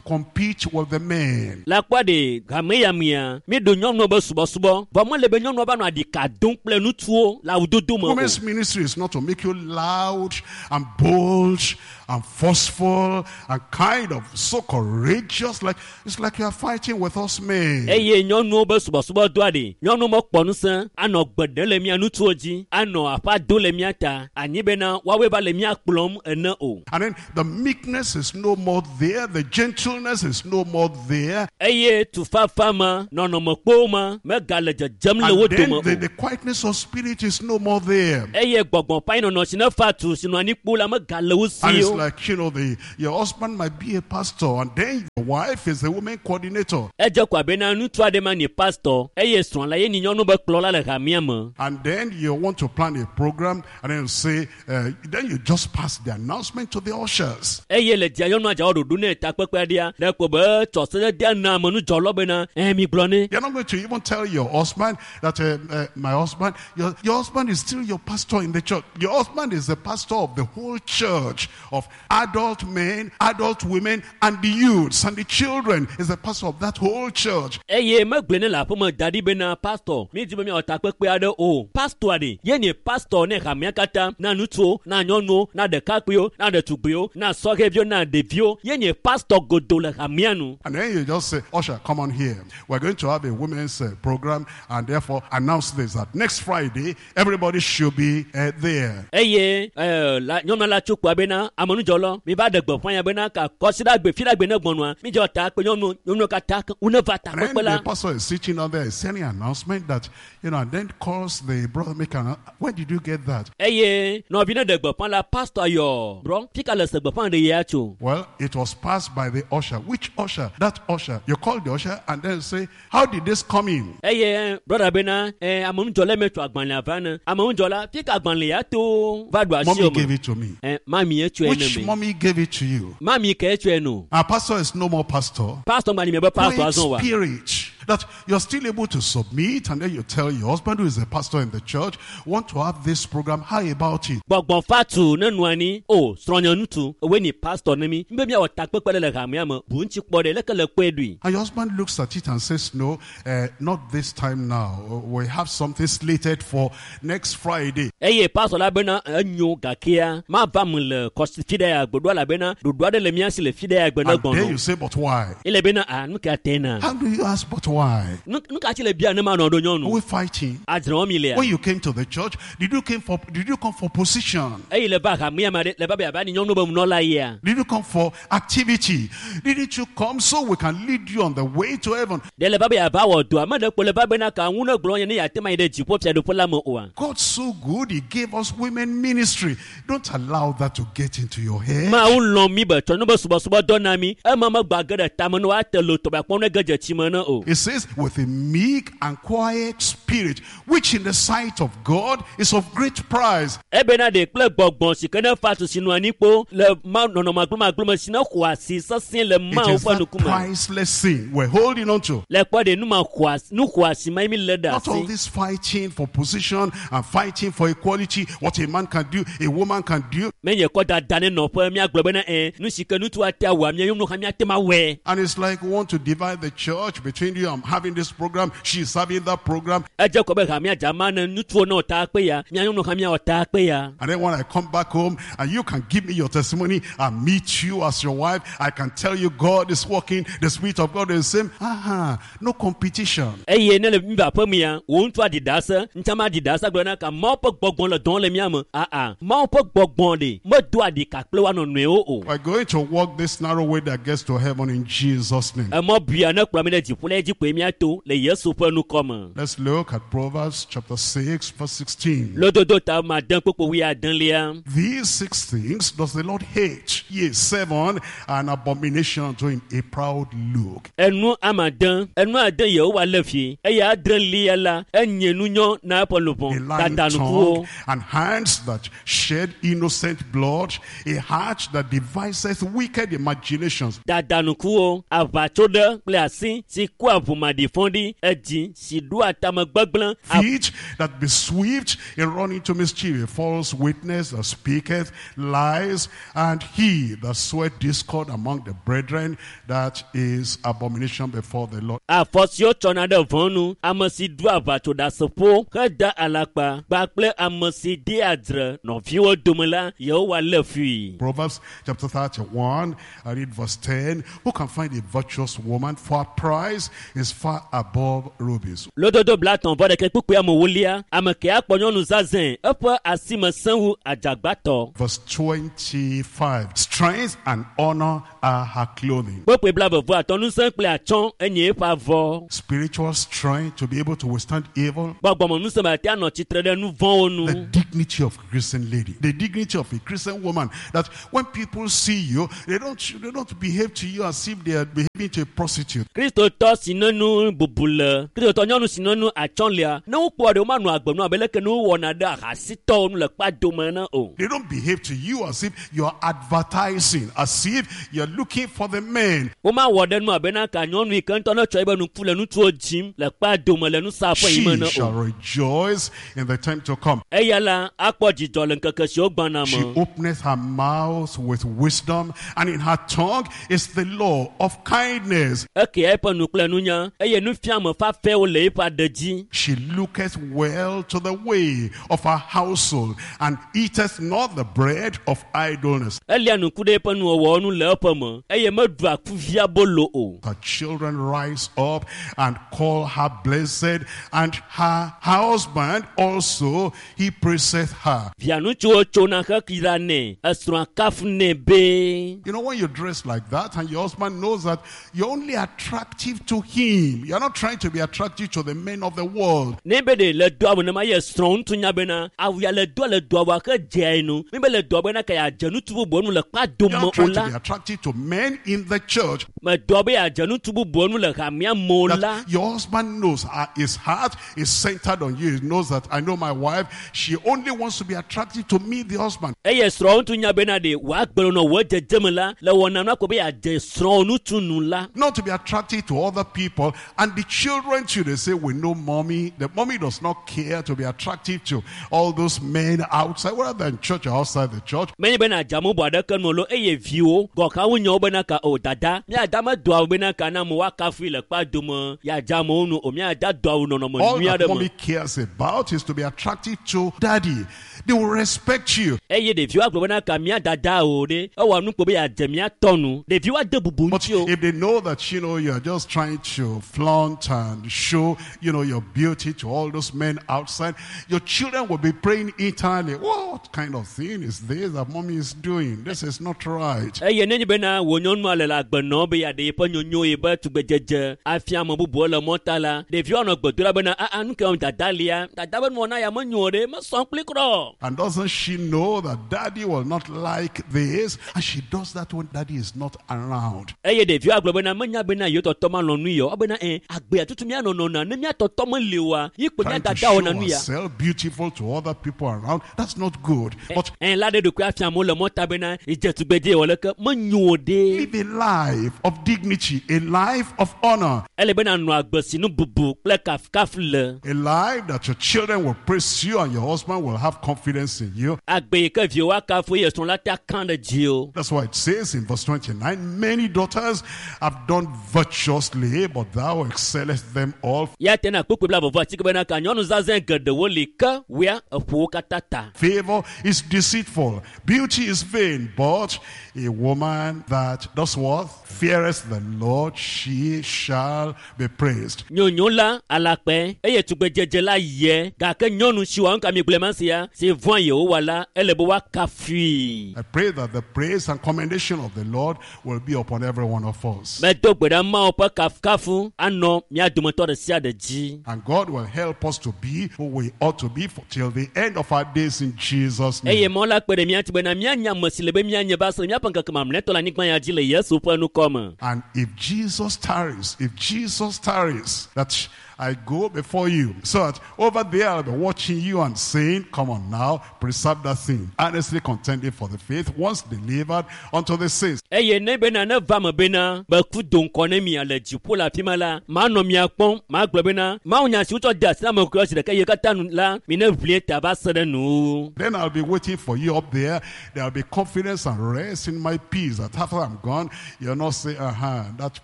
compete with the men. Le kpɔ ɖe hame ya mea míeɖo nyɔnuwo be subɔsubɔ vɔ mele be nyɔnuwo va nɔ aɖika dom kple ŋutsuwo le awudodo me o. Women's ministry is not to make you loud and bold and forceful and kind of so courageous. Like it's like you are fighting with us men. Eye nyɔnuwo be subɔsubɔdɔa ɖe nyɔnuwo mekpɔ ŋusẽ anɔ gbe ɖem le mía ŋutsuwo dzi anɔ aƒa do le mía ta anyi bena woawoe va le mía kplɔm ene o. And then the meekness is no more there, the gentleness is no more there. Eye tufafa ma nɔnɔmekpowo ma megale dzedzem le wo And then dome the, o. the quietness of spirit is no more there. Eye gbɔgbɔ ƒe anyinɔnɔ si ne fa tu si nɔ anyi kpo la megale wo And si it's o. like, you know, the your husband might be a pastor, and then your wife is the woman coordinator. Edze ko abe na ŋutsu aɖe ma nye pastor eye srɔ̃ la ye nye nyɔnu be kplɔla le hamea me. And then you want to plan a program, and then you say, uh, then you just pass the announcement to the ushers. Eye le dzia nyɔnua dza wɔ ɖoɖo ne takpekpe aɖea ɖe ko be tsɔ sededea na amenudzɔlɔ bena ɛ mi gblɔ ne. You're not going to even tell your husband that, uh, uh, my husband, your, your husband is still your pastor in the church. Your husband is the pastor of the whole church, of adult men, adult women, and the youths and the children. Is the pastor of that whole church. Eye megblɔe ne le aƒeme da ɖi bena pastor mi di be miawɔ takpekpe aɖe o. Pastor ɖe ye nye pastor ne hamea katã na ŋutsuwo na nyɔnuwo na ɖekakpuiwo na ɖetugbiwo na sɔhɛviwo na ɖeviwo ye nye pastor godo le hamea nu. And then you just say, usher, come on here. We're going to have a women's uh, program, and therefore announce this, that next Friday, everybody should be uh, there. Eye ɛɛ la nyɔnua la tso kpoa bena amenudzɔlɔ mi va ɖe gbeƒã ya bena ka kɔsiɖagbe fiɖagbe ne gbɔnua mi dzɔ ta kpe nyɔnu nyɔnuwo katã ke wo ne va And then takpekpe the la. pastor is sitting down there, sending an announcement that, you know, and then calls the brother maker. Where did you get that? Eye nɔvi ne ɖe gbeƒã la pastor yɔ brɔ fika le se gbeƒã ɖe ya tso. Well, it was passed by the usher. Which usher? That usher. You call the usher and then say, how did this come in? Eye brɔda bena ɛ amenudzɔla me tso agbalẽa va ne amenudzɔla fika agbalẽ ya to va ɖo asi Mommy o gave me. it to me. Ɛ mami ye tsɔe ne Which me. mommy gave it to you? Mami ke tsɔe no. Our pastor is no more pastor. Pastor gba ni mi be pastor Quiet azɔ wa. spirit that you're still able to submit, and then you tell your husband, who is a pastor in the church, want to have this program. How about it? Gbɔgbɔ fatu ne nɔ anyi o srɔ̃nye ŋutsu ewoe ni pastor ne mi mi be miawɔ takpekpe ɖe le hamea me bu ŋuti kpɔ ɖe leke le kpɔe ɖui. And your husband looks at it and says, no, uh, not this time now. We have something slated for next Friday. Eye pastor la bena enyo gakea mava me le kɔsi fi ɖe ya gbeɖoa elabena ɖoɖo aɖe le mía si le fi ɖe ya gbe ne And then gbɔnɔ. you say, but why? Ele bena a nu ka te na. How do you ask, but why? Nu nu ka tsi le bia ne ma nɔ ɖo Are nyɔnu. we fighting? Adzre wɔm mi lea. When you came to the church, did you came for did you come for position? Eye le va hamea me ɖe le va be yeava ni nyɔnu be nunɔla yia. Did you come for activity? Didn't you come so we can lead you on the way to heaven? Ɖe le va be yeava wɔ dɔa me ɖe kpo le va bena ka ŋu ne gblɔ nye ne yeate ma yi ɖe dziƒo fiaɖuƒe la me oa. God's so good, He gave us women ministry. Don't allow that to get into your head. Mawu lɔ̃ mi be tsɔ nu be subɔsubɔdɔ na mi ema megba ge ɖe tame ne woate lo tɔgbe akpɔ ne ge dze tsi me ne o. It says, with a meek and quiet spirit, which in the sight of God is of great price. Ebena ɖe kple gbɔgbɔ si ke ne fa tu si nɔ anyi kpo le ma nɔnɔme agblomagblome si ne xɔ asi sesẽ le It Mawu is ƒe that ŋkume. priceless thing we're holding on to. Le kpɔ ɖe nu ma xɔ asi nu xɔ asi ma ye mi lé ɖe Not all asi. this fighting for position and fighting for equality, what a man can do, a woman can do. Menye kɔ dada ne nɔƒe míagblɔ bena ɛ nu si ke ŋutsu ate awɔa mía nyɔnu hã míate ma wɔe. And it's like we want to divide the church between you. I'm having this program, she's having that program. Edze kɔ be hamea dzama ne ŋutsuwo ne wɔ ta kpe ya mía nyɔnu hã míawɔ ta kpe ya. And then when I come back home and you can give me your testimony, I meet you as your wife. I can tell you God is working, the Spirit of God is the same. Uh-huh. No competition. Eye ne le mi va aƒe mea wò ŋutsu aɖi ɖase ŋutsa ma ɖi ɖase gblɔ na ka Mawu ƒe gbɔgbɔ le dɔm le mía me aa Mawu ƒe gbɔgbɔ ɖe medoa ɖika kple woa nɔnɔewo o. We're going to walk this narrow way that gets to heaven in Jesus' name. Emɔ bia ne kplɔ mi ɖe dziƒo la dzi kpoe míato le Yesu ƒe nukɔme. Let's look at Proverbs chapter six, verse sixteen. Lododo ta ma ade kpokpo wuiadelia. These six things does the Lord hate, yea, seven, an abomination unto him, a proud look. Enu ame ade, enu ade Yehowa lé fi eye adrelia la enye nunyɔ na eƒe A luʋɔ. lying Dadanukuwo. tongue and hands that shed innocent blood, a heart that deviseth wicked imaginations, Dadanukuwo, aʋatsoɖe kple asi si kua ʋumaɖifɔɖi, edzi si ɖoa tame gbegblẽ, feet that be swift in running to mischief, a false witness that speaketh lies, and he that soweth discord among the brethren, that is abomination before the Lord. Afɔ siwo tsɔna ɖe vɔ̃ nu, ame si ɖoa aʋatsoɖaseƒo heda alakpa kpakple ame si dea dzre nɔviwo dome la, Yehowa lé fui. Proverbs chapter thirty-one, I read verse ten. Who can find a virtuous woman? For her price is far above rubies. Lododo blatɔ̃ vɔ ɖeke kpukpui amewolia, ame ke akpɔ nyɔnu zazɛ̃, eƒe asime sẽ wu adzagbatɔ. Verse twenty-five. Strength and honor are her clothing. Kpukpui blaeve vɔ atɔ̃, ŋusẽ kple atsyɔ̃ enye eƒe avɔ. Spiritual strength to be able to withstand evil. Gbɔgbɔmeŋusẽ be ate anɔ tsitre ɖe nu vɔ̃wo nu. The dignity of a Christian lady, the dignity of a Christian woman, that when people see you, they don't, they don't behave to you as if they are behaving to a prostitute. Kristotɔ si ne nu bubu le, Kristotɔ nyɔnu si ne nu atsyɔ̃ lia, ne wokpɔ ɖe womanɔ agbe nu abe leke ne wowɔna ɖe ahasitɔwo nu le kpadome ene o. They don't behave to you as if you're advertising, as if you're looking for the men. Womawɔ ɖe nu abe na ka nyɔnu yi ke ŋutɔ ne tsɔ ebe nuku le ŋutsuwo dzim le kpadome le nusaƒe yi me She ene shall o. rejoice in the time to come. Eya la akpɔ dzidzɔ le ŋkeke siwo gbɔna She me. openeth her mouth with wisdom, and in her tongue is the law of kindness. Ekea eƒe nu kple nunya eye nufiame fafɛwo le eƒe aɖe dzi. She looketh well to the way of her household, and eateth not the bread of idleness. Elia nuku ɖe eƒe nuwɔwɔwo nu le eƒe me eye meɖua kuvia bolo o. Her children rise up and call her blessed, and her husband also, he praiseth her. Via ŋutsuwo tsona heyra nɛ, esrɔ̃a kafunɛ be. You know, when you dress like that and your husband knows that you're only attractive to him, you're not trying to be attractive to the men of the world. Ne be ɖe le doa awu nema ye srɔ̃ ŋutsu nya bena awu ya le doa le doa wa ke dzea ye nu. Mi be le doa bena ke yeadze ŋutsu bubuwo nu le kpadome You're not o trying to la. be attractive to men in the church. Medoa be yeadze ŋutsu bubuwo nu le hamea me o la. That your husband knows uh, his heart is centered on you. He knows that I know my wife. She only wants to be attractive to me, the husband. Eye srɔ̃ ŋutsu nya bena ɖe wòagbe nɔ wò dzedzeme la le wɔna nu ako be yeadze srɔ̃ ŋutsu nu la. Not to be attractive to other people. And the children too, they say, we know mommy. The mommy does not care to be attractive to all those men outside, whether in church or outside the church. Menye bena adze ame bubu aɖeke nu o lo eye viwo gɔ̃ wonyawo bena ka o dada míada medoa awu bena ka na amewo akafui le kpadome yeadze amewo nu o míada do awu nɔnɔme All nyui that aɖe me. mommy cares about is to be attractive to daddy. They will respect you. Eye ɖeviwo agblɔ bena ka mía dada o ɖe ewɔ nu kpo be yeadze mía tɔ nu ɖeviwo ade bubu But ŋuti o. if they know that, you know, you're just trying to flaunt and show, you know, your beauty to all those men outside, your children will be praying internally, what kind of thing is this that mommy is doing? This is not right. Eye nenye bena wò nyɔnua le le agbe nɔm be yeaɖe yeƒe nyonyo yeƒe tugbedzedze afia ame bubuwo le mɔta la ɖeviwo anɔ gbe dom ɖa bena aa nu ke wɔm dada lia dada be nuwɔna ya menyo o ɖe mesɔ kpli kura o. And doesn't she know that daddy will not like this? And she does that when daddy is not around. Eye ɖeviwo agblɔ bena menya bena yewo tɔtɔ malɔ̃ nu ya o ebena ɛ agbea tutu míanɔ nɔna ne mía tɔtɔ meli oa yi kpo mía Trying to dada show wɔna nu ya. herself beautiful to other people around, that's not good. But Ɛ la ɖe ɖokui afia amewo le mɔta bena edze tugbedze wɔ leke menyo o ɖe. live a life of dignity, a life of honor, Ele bena nɔ agbe si nu bubu kple kafukafu le. a life that your children will praise you and your husband will have confidence in you. Agbe yi ke viwo akafu eye srɔ̃ la te akã ɖe dzi o. That's why it says in verse twenty-nine, many daughters have done virtuously, but thou excellest them all. Ya te na kpukpui bla vɔvɔ atike bena ka nyɔnu zazɛ̃ geɖewo li ke woa eƒo wo katã ta. Favor is deceitful, beauty is vain, but a woman that does what? Feareth the Lord, she shall be praised. Nyonyo la alakpɛ eye tugbedzedze la yɛ gake nyɔnu si wɔ nu ka mi gblẽ ma sia si vɔ̃a Yehowa la ele be woakafui. I pray that the praise and commendation of the Lord will be upon every one of us. Medo gbe ɖa Mawu ƒe kafukafu anɔ mía dometɔ ɖe sia ɖe dzi. And God will help us to be who we ought to be for, till the end of our days in Jesus' Eye name. Mawu la kpe ɖe mía ŋuti bena míanya ame si le be míanye va se ɖe míaƒe ŋkeke mamlɛtɔ le anyigba ya dzi le Yesu ƒe ŋkɔ me. And if Jesus tarries, if Jesus tarries, that I go before you, so that over there I'll be watching you and saying, come on now, preserve that thing, earnestly contending for the faith once delivered unto the saints. Eye ne bena ne va me bena meku do ŋkɔ ne mia le dziƒo le afi ma la, manɔ mia kpɔm, magblɔ bena Mawu nya si wotsɔ de asi na ame kɔkɔewo zi ɖeka eye katã nu la, mi ne ʋlie ta va se ɖe nu. Then I'll be waiting for you up there. There'll be confidence and rest in my peace that after I'm gone, you'll not say, uh-huh, that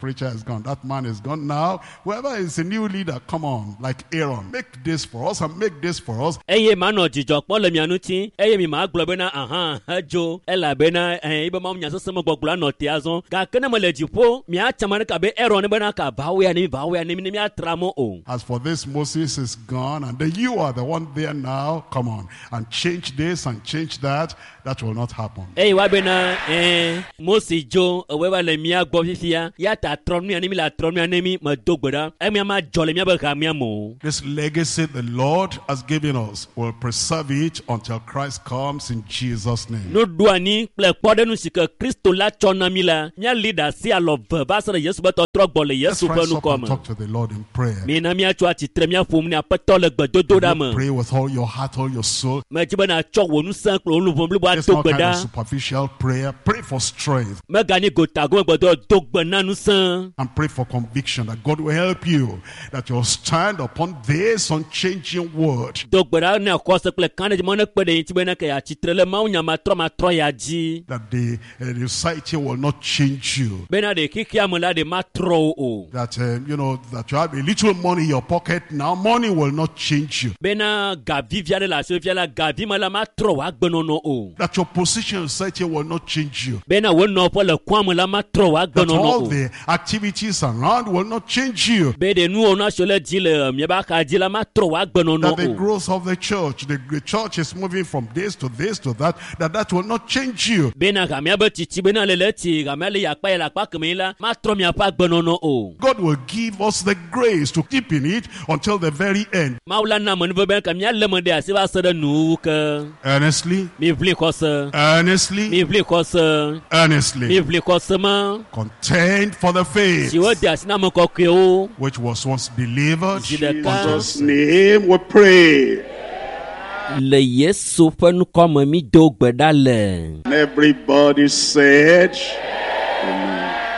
preacher is gone, that man is gone. Now, whoever is a new leader, come on, like Aaron, make this for us and make this for us. Eye manɔ dzidzɔ kpɔm le mia ŋuti, eye mi magblɔ bena aha edzo elabena ɛɛ ebe Mawu nya sesẽ me gbɔgblɔ anɔ te azɔ. Gake ne mele dziƒo, miatsa ame ɖeka abe Aaron ne bena ka va wo ya ne mi, va wo ya ne mi ne miatra mɔ o. As for this, Moses is gone, and then you are the one there now. Come on, and change this and change that. That will not happen. Eye wa bena ɛɛ Mose dzo ewɔe va le mía gbɔ fifia ya ta trɔ nu ya ne mi le trɔ nu ya ne mi medo gbe ɖa emia ma dzɔ le míaƒe hamea me o. This legacy the Lord has given us will preserve it until Christ comes in Jesus' name. Nuɖoanyi kple kpɔɖeŋu si ke Kristo la tsɔ na mí la, míali ɖe asi alɔ ve va se ɖe Yesu ƒe tɔtrɔ gbɔ le Let's Yesu ƒe rise up ŋkɔ and me. talk to the Lord in prayer. Mina míatso atsitre míaƒo nu ne Aƒetɔ le gbedodoɖa me. Pray with all your heart, all your soul. Medzi be nàtsɔ wò ŋusẽ kple wò luʋɔ blibo It's ato not gbe kind of ɖa. superficial prayer. Pray for strength Meganyi gotagome gbedɔ do gbe na ŋusẽ. and pray for conviction that God will help you, that you'll stand upon this unchanging word. Do gbe ɖa ne xɔse kple kãɖedzi mɔ ne kpe ɖe ŋuti be ne ke yeatsitre le Mawu nya matrɔmatrɔ ya dzi. That the, uh, the society will not change you. Bena ɖe xexea me la ɖe matrɔ wo o. That, um, you know, that you have a little money in your pocket now, money will not change you. Bena gavi vi aɖe le asiwò fia la, gavi me la matrɔ wò agbenɔnɔ o. That your position in society will not change you. Bena wò nɔƒe le kɔa me la matrɔ wò That agbenɔnɔ all o. the activities around will not change you. Be ɖe nuwɔna siwo le dzi le miaƒe axa dzi la matrɔ wò agbenɔnɔ That the o. growth of the church, the, the church is moving from this to this to that, that that will not change you. Bena hamea be tsitsi bena le le tsi hamea le yi akpa yi le akpa keme la matrɔ miaƒe agbenɔnɔ o. God will give us the grace to keep in it until the very end. Mawu la na amenuveve be ke míalé me ɖe asi va se ɖe nuwuwu ke. Earnestly, Miʋli xɔse. earnestly, Miʋli xɔse. earnestly. Miʋli xɔse ma Contend for the faith si wode asi na ame kɔkɔewo. which was once delivered Zi ɖeka. unto Jesus' name we pray. Le Yesu ƒe ŋkɔ me mi do gbe ɖa le. And everybody said,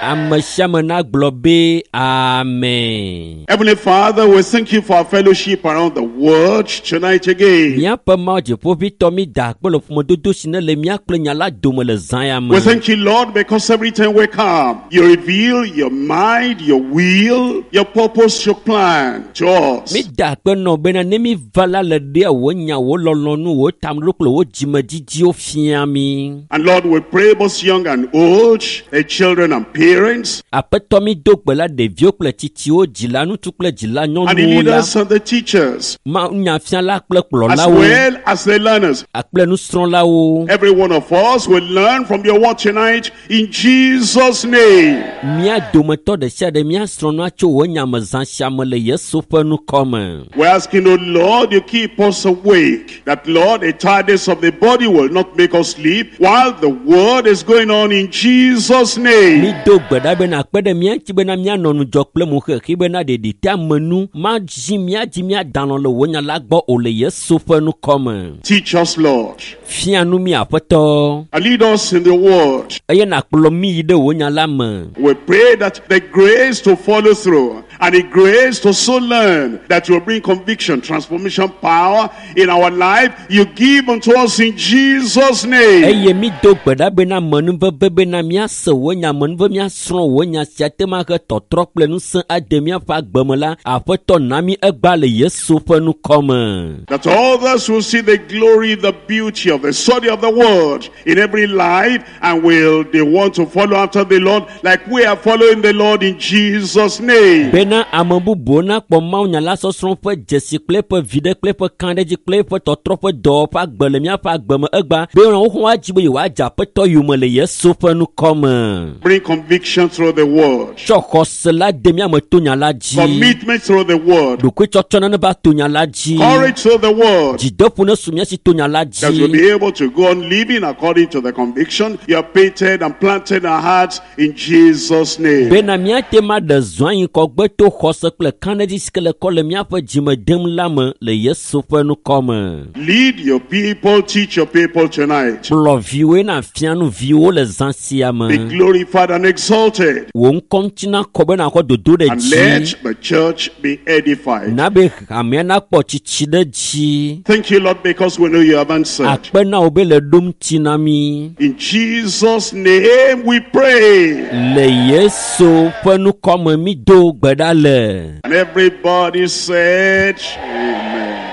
Ame sia ame nagblɔ be amen. Heavenly Father, we thank you for our fellowship around the world tonight again. Míaƒe Mawu dziƒoʋĩtɔ mi da akpe le ƒomedodo si ne le mía kple nya la dome le zã ya me. We thank you, Lord, because every time we come, you reveal your mind, your will, your purpose, your plan to us. Mi da akpe nɔ bena ne mi va la le ɖea wò nya, wò lɔlɔ̃nu, wò tameɖoɖo kple wò dzimedidiwo fia mi. And Lord, we pray both young and old, the children and parents, Aƒetɔ mi do gbe la ɖeviwo kple tsitsiwo, dzila ŋutsu kple dzila and the nyɔnuwo la, leaders and the teachers, ma nyafiala kple as kplɔlawo well as the learners. kple nusrɔ̃lawo. Every one of us will learn from your word tonight in Jesus' name. Mía dometɔ ɖe sia ɖe míasrɔ̃ nua tso wò nya me zã sia me le Yesu ƒe ŋkɔ me. We're asking, oh Lord, you keep us awake. That, Lord, the tiredness of the body will not make us sleep while the word is going on in Jesus' name. Mi do gbe ɖa bena akpe ɖe mía ŋuti bena míanɔ ŋudzɔ kple mo xexi bena ɖeɖi te ame nu madzi mía dzi míadalɔ le wò nya la gbɔ o le Yesu ƒe ŋkɔ me. Teach us, Lord, Fia nu mí Aƒetɔ and lead us in the word. eye nàkplɔ mí yi ɖe wò nya la me. We pray that the grace to follow through and the grace to so learn that will bring conviction, transformation, power in our life, you give unto us in Jesus' name. Eye mi do gbe ɖa bena amenuveve bena míase wò nya amenuve míasrɔ̃ wò nya sia te ma he tɔtrɔ kple ŋusẽ ade míaƒe agbe me la Aƒetɔ na mí egbea le Yesu ƒe ŋkɔ me. That others will see the glory, the beauty of the study of the word in every life and will they want to follow after the Lord like we are following the Lord in Jesus' name. Bena Bena ame bubuwo nakpɔ mawunya la sɔsrɔ̃ ƒe dzesi kple eƒe viɖe kple eƒe kãɖedzi kple eƒe tɔtrɔ ƒe dɔwɔ ƒe agbe le míaƒe agbe me egba be wohã woadzi be yewoadze aƒetɔ yome le Yesu ƒe ŋkɔme. Bring conviction through the word. Tsɔ xɔse la de míame to nya la dzi. Commitment through the word. Ɖokuitsɔtsɔ nane va to nya la dzi. Courage through the word. Dzideƒo ne su mía si to nya la That we'll dzi. be able to go on living according to the conviction you have painted and planted in our hearts in Jesus' name. Bena míate ma ɖe zɔ anyi kɔgbe to xɔse kple kãɖedzi si ke le kɔ le míaƒe dzime dem la me le Yesu ƒe ŋkɔme. Lead your people, teach your people tonight. Kplɔ viwoe na fia nu viwo le zã sia Be me. glorified and exalted. Wò ŋkɔ ŋuti nakɔ be nakɔ dodo ɖe And dzi. let the church be edified. Na be hamea nakpɔ tsitsi ɖe dzi. Thank you, Lord, because we know you have answered. Akpe na wò be le ɖom ŋuti na mí. In Jesus' name we pray. Le Yesu ƒe ŋkɔme mi do gbe ɖa le. And everybody said, Amen.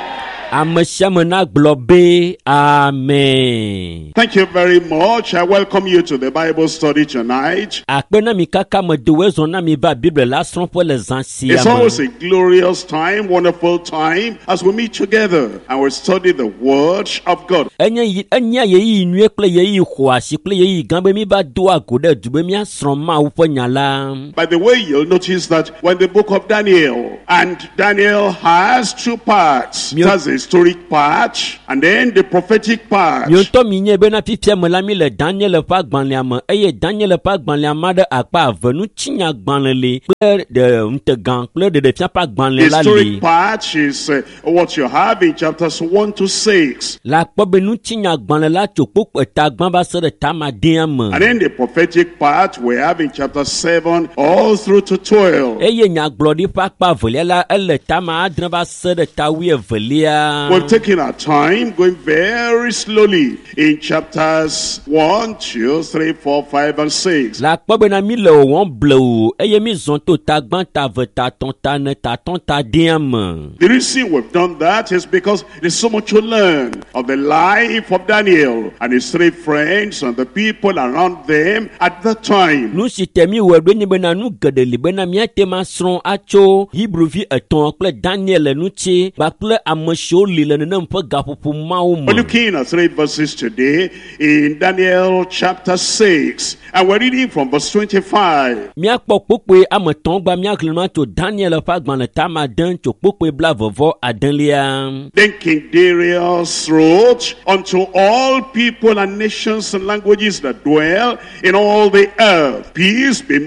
Ame sia ame nagblɔ be amen. Thank you very much. I welcome you to the Bible study tonight. Akpe na mi kaka me do zɔ na mi va Biblia la srɔ̃ƒe le zã sia It's me. always a glorious time, wonderful time as we meet together and we study the Word of God. Enye yi- enyea ɣeyiɣi nyuie kple ɣeyiɣi xɔasi kple ɣeyiɣi gã be mi va doa go ɖe du be míasrɔ̃ Mawu ƒe nya la. By the way, you'll notice that when the book of Daniel, and Daniel has two parts. It has the historic part and then the prophetic part. Miwo ŋutɔ mi nye bena fifia me la mi le Daniel ƒe agbalẽa me eye Daniel ƒe agbalẽa ma ɖe akpa eve ŋutinyagbalẽ li kple ɖe ŋutegã kple ɖeɖefia ƒe The agbalẽ la li. historic part is uh, what you have in chapters one to six. Le akpɔ be ŋutinyagbalẽ la tso kpokpo eta gbã va se ɖe tamadea me. And then the prophetic part we have in chapter seven all through to twelve. Eye nyagblɔɖi ƒe akpa evelia la ele tama adre va se ɖe ta wuievelia. We've taken our time going very slowly in chapters one, two, three, four, five, and six. Le akpɔ bena mi le wɔwɔm blewu eye mi zɔn to ta gbã ta eve ta tɔn ta ene ta tɔn ta dea me. The reason we've done that is because there's so much to learn of the life of Daniel and his three friends and the people around them at that time. Nu si te mi wɔe ɖo nye bena nu geɖe li bena míate ma srɔ̃ atso Hebruvi etɔ̃ kple Daniel ŋuti kpakple ame siwo li le nenem ƒe gaƒoƒo mawo We're me. looking at three verses today in Daniel chapter six, and we're reading from verse twenty-five. Míakpɔ kpokpoe ame etɔ̃ gba míaxlẽ nu tso Daniel ƒe agbalẽ tama ade tso kpokpoe blaeve adelia. Then King Darius wrote unto all people and nations and languages that dwell in all the earth, peace be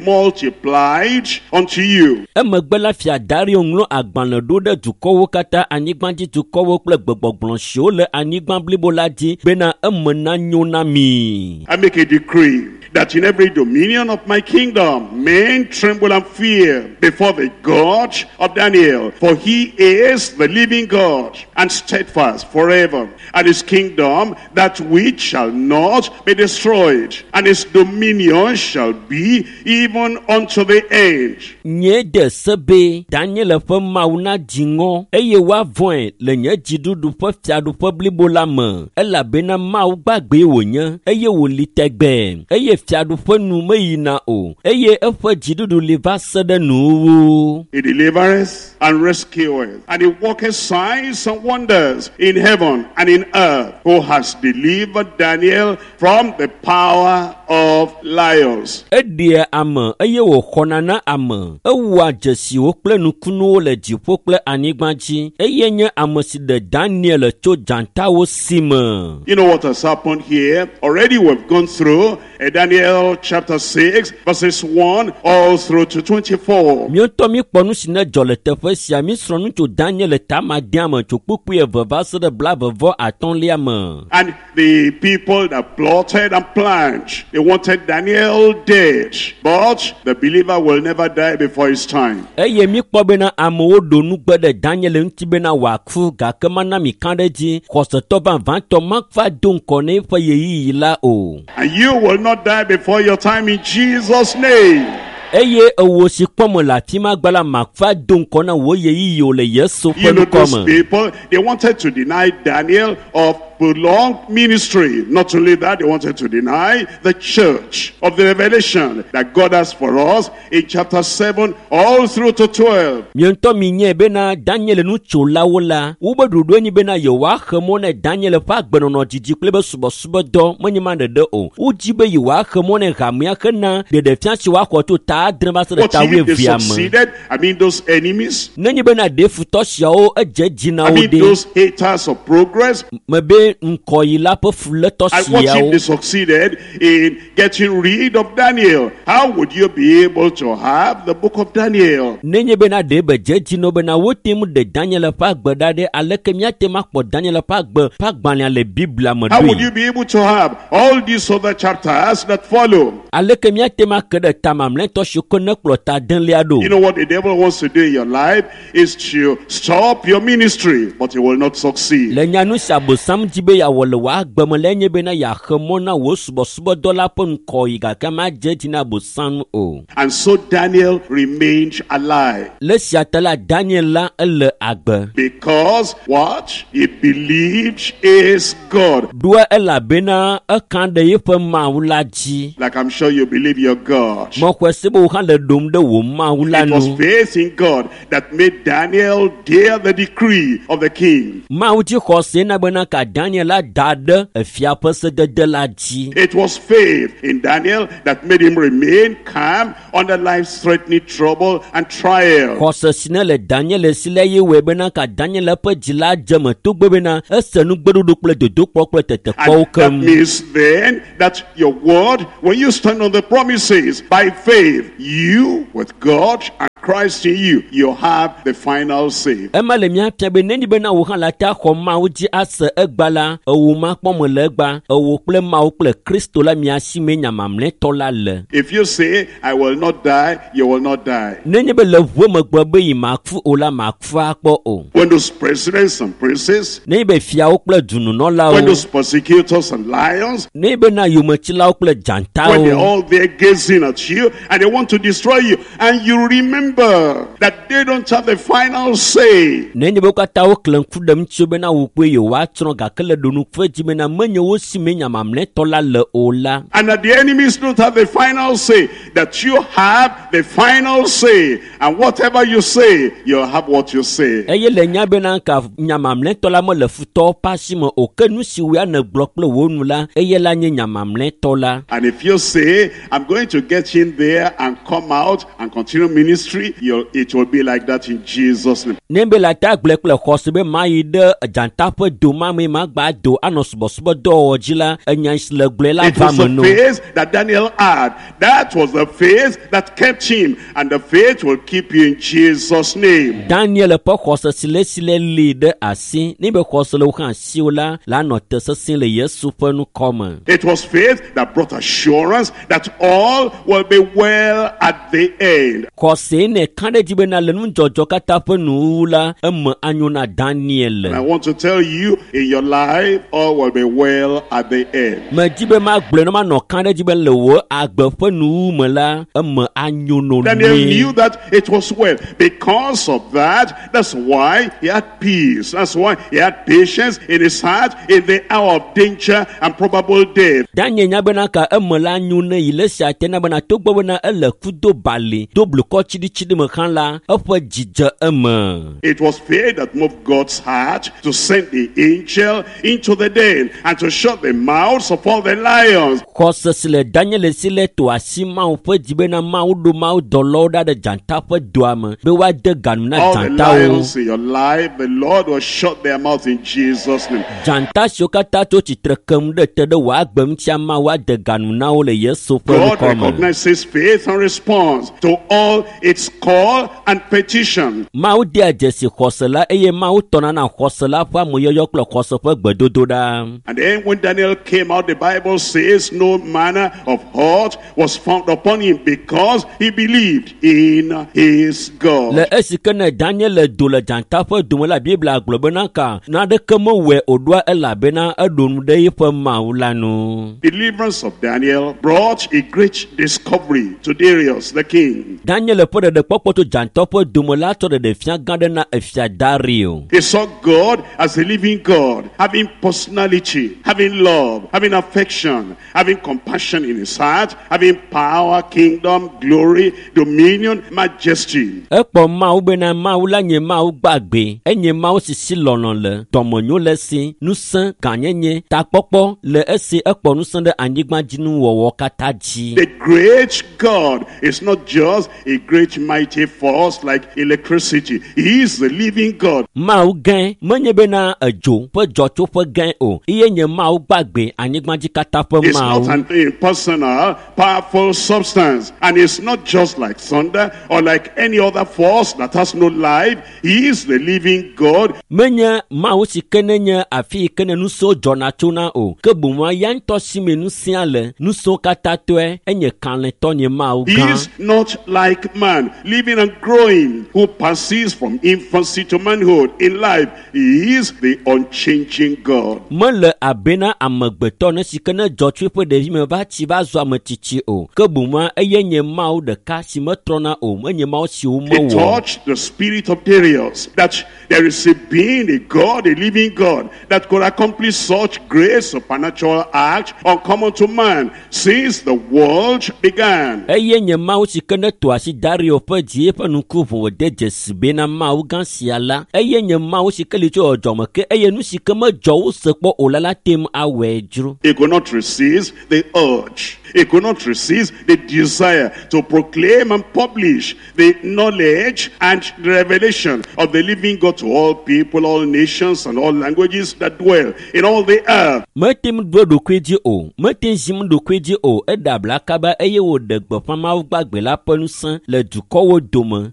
multiplied unto you. Emegbe la fia Dario ŋlɔ agbalẽ ɖo ɖe dukɔwo katã, anyigbadzidukɔwo kple gbegbɔgblɔ siwo le anyigba blibo la dzi bena eme nanyo na mi. I make a decree that in every dominion of my kingdom men tremble and fear before the God of Daniel, for he is the living God and steadfast forever, and his kingdom that which shall not be destroyed, and his dominion shall be even unto the end. Nye de se be Daniel ƒe Mawu nadzi ŋɔ eye woavɔ̃e le nye dziɖuɖu ƒe fiaɖuƒe blibo la me elabena Mawu gbagbee wònye eye wòli tɛgbɛɛ eye fiaɖuƒe nu meyina o eye eƒe dziɖuɖu li va se ɖe nuwuwu. He delivereth and rescueth, and he worketh signs and wonders in heaven and in earth, who has delivered Daniel from the power of lions. Eɖea ame eye wòxɔna na ame. Ewɔa dzesiwo kple nukunuwo le dziƒo kple anyigba dzi eye nye ame si ɖe Daniel tso dzatawo si me. You know what has happened here? Already we've gone through uh, Daniel chapter six, verses one all through to twenty-four. Míawo míkpɔ nu si ne dzɔ le teƒe sia mísrɔ̃ nu tso Daniel tamadea me tso kpukpui eve va se ɖe blaeve vɔ atɔ̃lia me. And the people that plotted and planned, they wanted Daniel dead. But the believer will never die before his time. Eye míkpɔ bena amewo ɖo nugbe ɖe Daniel ŋuti bena wòaku gake mana mi ka ɖe edzi xɔsetɔ vavãtɔ mava do ŋkɔ na eƒe ɣeyiɣi la o. And you will not die before your time in Jesus' name. Eye ewo si kpɔm le afi ma gba la mava do ŋkɔ na wò ɣeyiɣi o le Yesu ƒe You know ŋkɔ those me. people, they wanted to deny Daniel of prolonged ministry. Not only that, they wanted to deny the church of the revelation that God has for us in chapter seven all through to twelve. Mie ŋutɔ mi nye bena Daniel nutsolawo la, wobe ɖoɖoe nyi bena yewoaxe mɔ ne Daniel ƒe agbenɔnɔ didi kple be subɔsubɔdɔ menye ma ɖeɖe o. Wodzi be yewoaxe mɔ ne hamea hena ɖeɖefia si woaxɔ tso ta adre va se ɖe What ta if they wuievea me. succeeded? I mean those enemies. Nenye bena ɖe futɔ siawo edze dzi na I wo mean ɖe those haters of progress. mebe ŋkɔyila ƒe fulétɔ And what if siawo they succeeded in getting rid of Daniel? How would you be able to have the book of Daniel? nenye bena ɖe be dze dzi na wo bena wote ŋu ɖe Daniel ƒe agbe ɖa ɖe aleke míate ŋu akpɔ Daniel ƒe agbe ƒe agbalẽa le Biblia me How would ɖoe you be able to have all these other chapters that follow? aleke míate ŋu ake ɖe ta mamlɛtɔ siwo ke ne kplɔ ta adelia ɖo You know what the devil wants to do in your life is to stop your ministry, but he will not succeed. le nyanu si abosam dzi be yeawɔ le wò agbe me la enye bena yeaxe mɔ na wò subɔsubɔdɔ la ƒe ŋkɔyi gake madze dzi na abosam o And so Daniel remained alive le esia ta la Daniel la ele agbe because what? He believed is God. ɖoa elabena eka ɖe eƒe Mawu la dzi Like I'm sure you believe your God. mexɔe se be wò hã le ɖom ɖe wò Mawu la It was nu faith in God that made Daniel dare the decree of the king. Mawu dzi xɔse na bena ka Daniel la da ɖe efia ƒe sedede la dzi It was faith in Daniel that made him remain calm under life-threatening trouble and trial. xɔse si ne le Daniel si la ye wɔe bena ka Daniel ƒe dzi la dze me togbɔ bena ese nugbeɖoɖo kple dodokpɔ kple And tetekpɔwo that keŋ means then that your word, when you stand on the promises by faith, you with God and Christ in you, you have the final say. ema le mía fia be nenye bena wò hã la te axɔ Mawu dzi ase egba la ewo makpɔ me le egba ewo kple Mawu kple Kristo la mia si mee nya mamlɛtɔ la le If you say, I will not die, you will not die. nenye be le ʋue megbe be yi maku o la maku akpɔ o When those presidents and princes, nenye be fiawo kple when dununɔlawo those persecutors and lions, nenye be na yometsilawo kple when they're dzatawo all there gazing at you and they want to destroy you, and you remember that they don't have the final say. nenye be wo katã woklẽ ŋku ɖe ŋutiwo bena wò kpoe yewoatsrɔ̃ gake le ɖonuƒe dzi bena menye wo si mee nya mamlɛtɔ la le o la And that the enemies don't have the final say, that you have the final say. And whatever you say, you'll have what you say. eye le nya bena ka nya mamlɛtɔ la mele futɔwo ƒe asi me o ke nu si woa nègblɔ kple wò nu la eye la nye nya mamlɛtɔ la And if you say, I'm going to get in there and come out and continue ministry, you'll, it will be like that in Jesus' name. ne be le ata gblẽ kple xɔse be mayi ɖe dzata ƒe do ma me magba do anɔ subɔsubɔdɔwɔwɔ dzi la enya si le gblɔe la It va was me the no faith that Daniel had. That was the faith that kept him. And the faith will keep you in Jesus' name. Daniel ƒe xɔse si le si le li ɖe asi ne be xɔse le wo hã asiwò la la nɔ te sesĩ le Yesu ƒe ŋkɔ me It was faith that brought assurance that all will be well at the end. xɔse ne ka ɖe dzi bena le nudzɔdzɔ katã ƒe nuwuwu la eme anyo na Daniel And I want to tell you, in your life, all will be well at the end. medzi be magblɔe ne manɔ ka ɖe dzi be le wò agbe ƒe nuwuwu me la eme anyo no Daniel nyuie knew that it was well. Because of that, that's why he had peace. That's why he had patience in his heart in the hour of danger and probable death. Daniel nya bena ka eme la nyo ne yi le sia te na bena togbɔ bena ele ku do bali do blukɔ tsiɖitsiɖi me hã la eƒe dzi dze eme It was faith that moved God's heart to send the angel into the den and to shut the mouths of all the lions. xɔse si le Daniel si le to asi Mawu ƒe dzi bena Mawu ɖo Mawu dɔlawo ɖa ɖe dzata ƒe doa me be woade ganu na All the dzatawo lions in your life, the Lord will shut their mouth in Jesus' name. dzata siwo katã tso tsitre kem ɖe te ɖe wò agbe ŋutia Mawu ade ganu na wo le Yesu ƒe God ŋkɔ me recognizes faith and responds to all its call and petition. Mawu dea dzesi xɔse la eye Mawu tɔna na xɔse la ƒe ameyɔyɔ kple xɔse ƒe gbedodoɖa And then when Daniel came out, the Bible says no manner of hurt was found upon him because he believed in his God. le esi ke ne Daniel do le dzata ƒe dome la Biblia gblɔ bena ka naneke mewɔe o ɖoa elabena eɖo nu ɖe eƒe Mawu la nu Deliverance of Daniel brought a great discovery to Darius the king. Daniel ƒe ɖeɖekpɔkpɔ tso dzãtɔ ƒe dome la tsɔ ɖeɖefia gã ɖe na efia Dario. He saw God as a living God, having personality, having love, having affection, having compassion in his heart, having power, kingdom, glory, dominion, majesty. Ekpɔ Mawu bena Mawu la nye Mawu gbagbe, enye Mawu si si lɔlɔ̃ le, dɔmenyo le esi, ŋusẽ, gãnyenye, takpɔkpɔ le esi ekpɔ ŋusẽ ɖe anyigbadzinuwɔwɔ katã dzi. The great God is not just a great mighty force like electricity. He is the living God. Mawu gã menye bena edzo ƒe dzɔtsoƒe gã o, eye nye Mawu gbagbe anyigbadzi katã ƒe It's not Mawu. an impersonal, powerful substance. And it's not just like thunder or like any other force that has no life. He is the living God. Menye Mawu si ke ne nye afi yi ke ne ŋusẽwo dzɔna tsona o, ke boŋ ya ŋutɔ si me ŋusẽa le, ŋusẽwo katã tɔe, enye kalẽtɔ nye Mawu He gã. is not like man, living and growing, who passes from infancy to manhood in life. He is the unchanging God. Mele abe na amegbetɔ ne si ke ne dzɔ tso eƒe ɖevime va tsi va zu ame tsitsi o, ke boŋ eye nye Mawu ɖeka si metrɔna o, menye Mawu si He womewɔ. touched the spirit of Darius, that there is a being, a God, a living God, that could accomplish such great supernatural act uncommon to man since the world began. Eye nye Mawu si ke ne to asi Dario ƒe dzi eƒe ŋku ʋu wòde dzesi bena Mawu gã sia la, eye nye Mawu si ke li tso dzɔdzɔme ke eye nu si ke medzɔ wose kpɔ o la la te ŋu awɔe dzro. He could not resist the urge. He could not resist the desire to proclaim and publish the knowledge and the revelation of the living God to all people, all nations, and all languages that dwell in all the earth. Mete ŋu ɖo eɖokui dzi o, mete ŋu zim ɖokui dzi o, eɖe abla kaba eye wòɖe gbeƒã Mawu gbagbe la ƒe ŋusẽ le dukɔwo dome le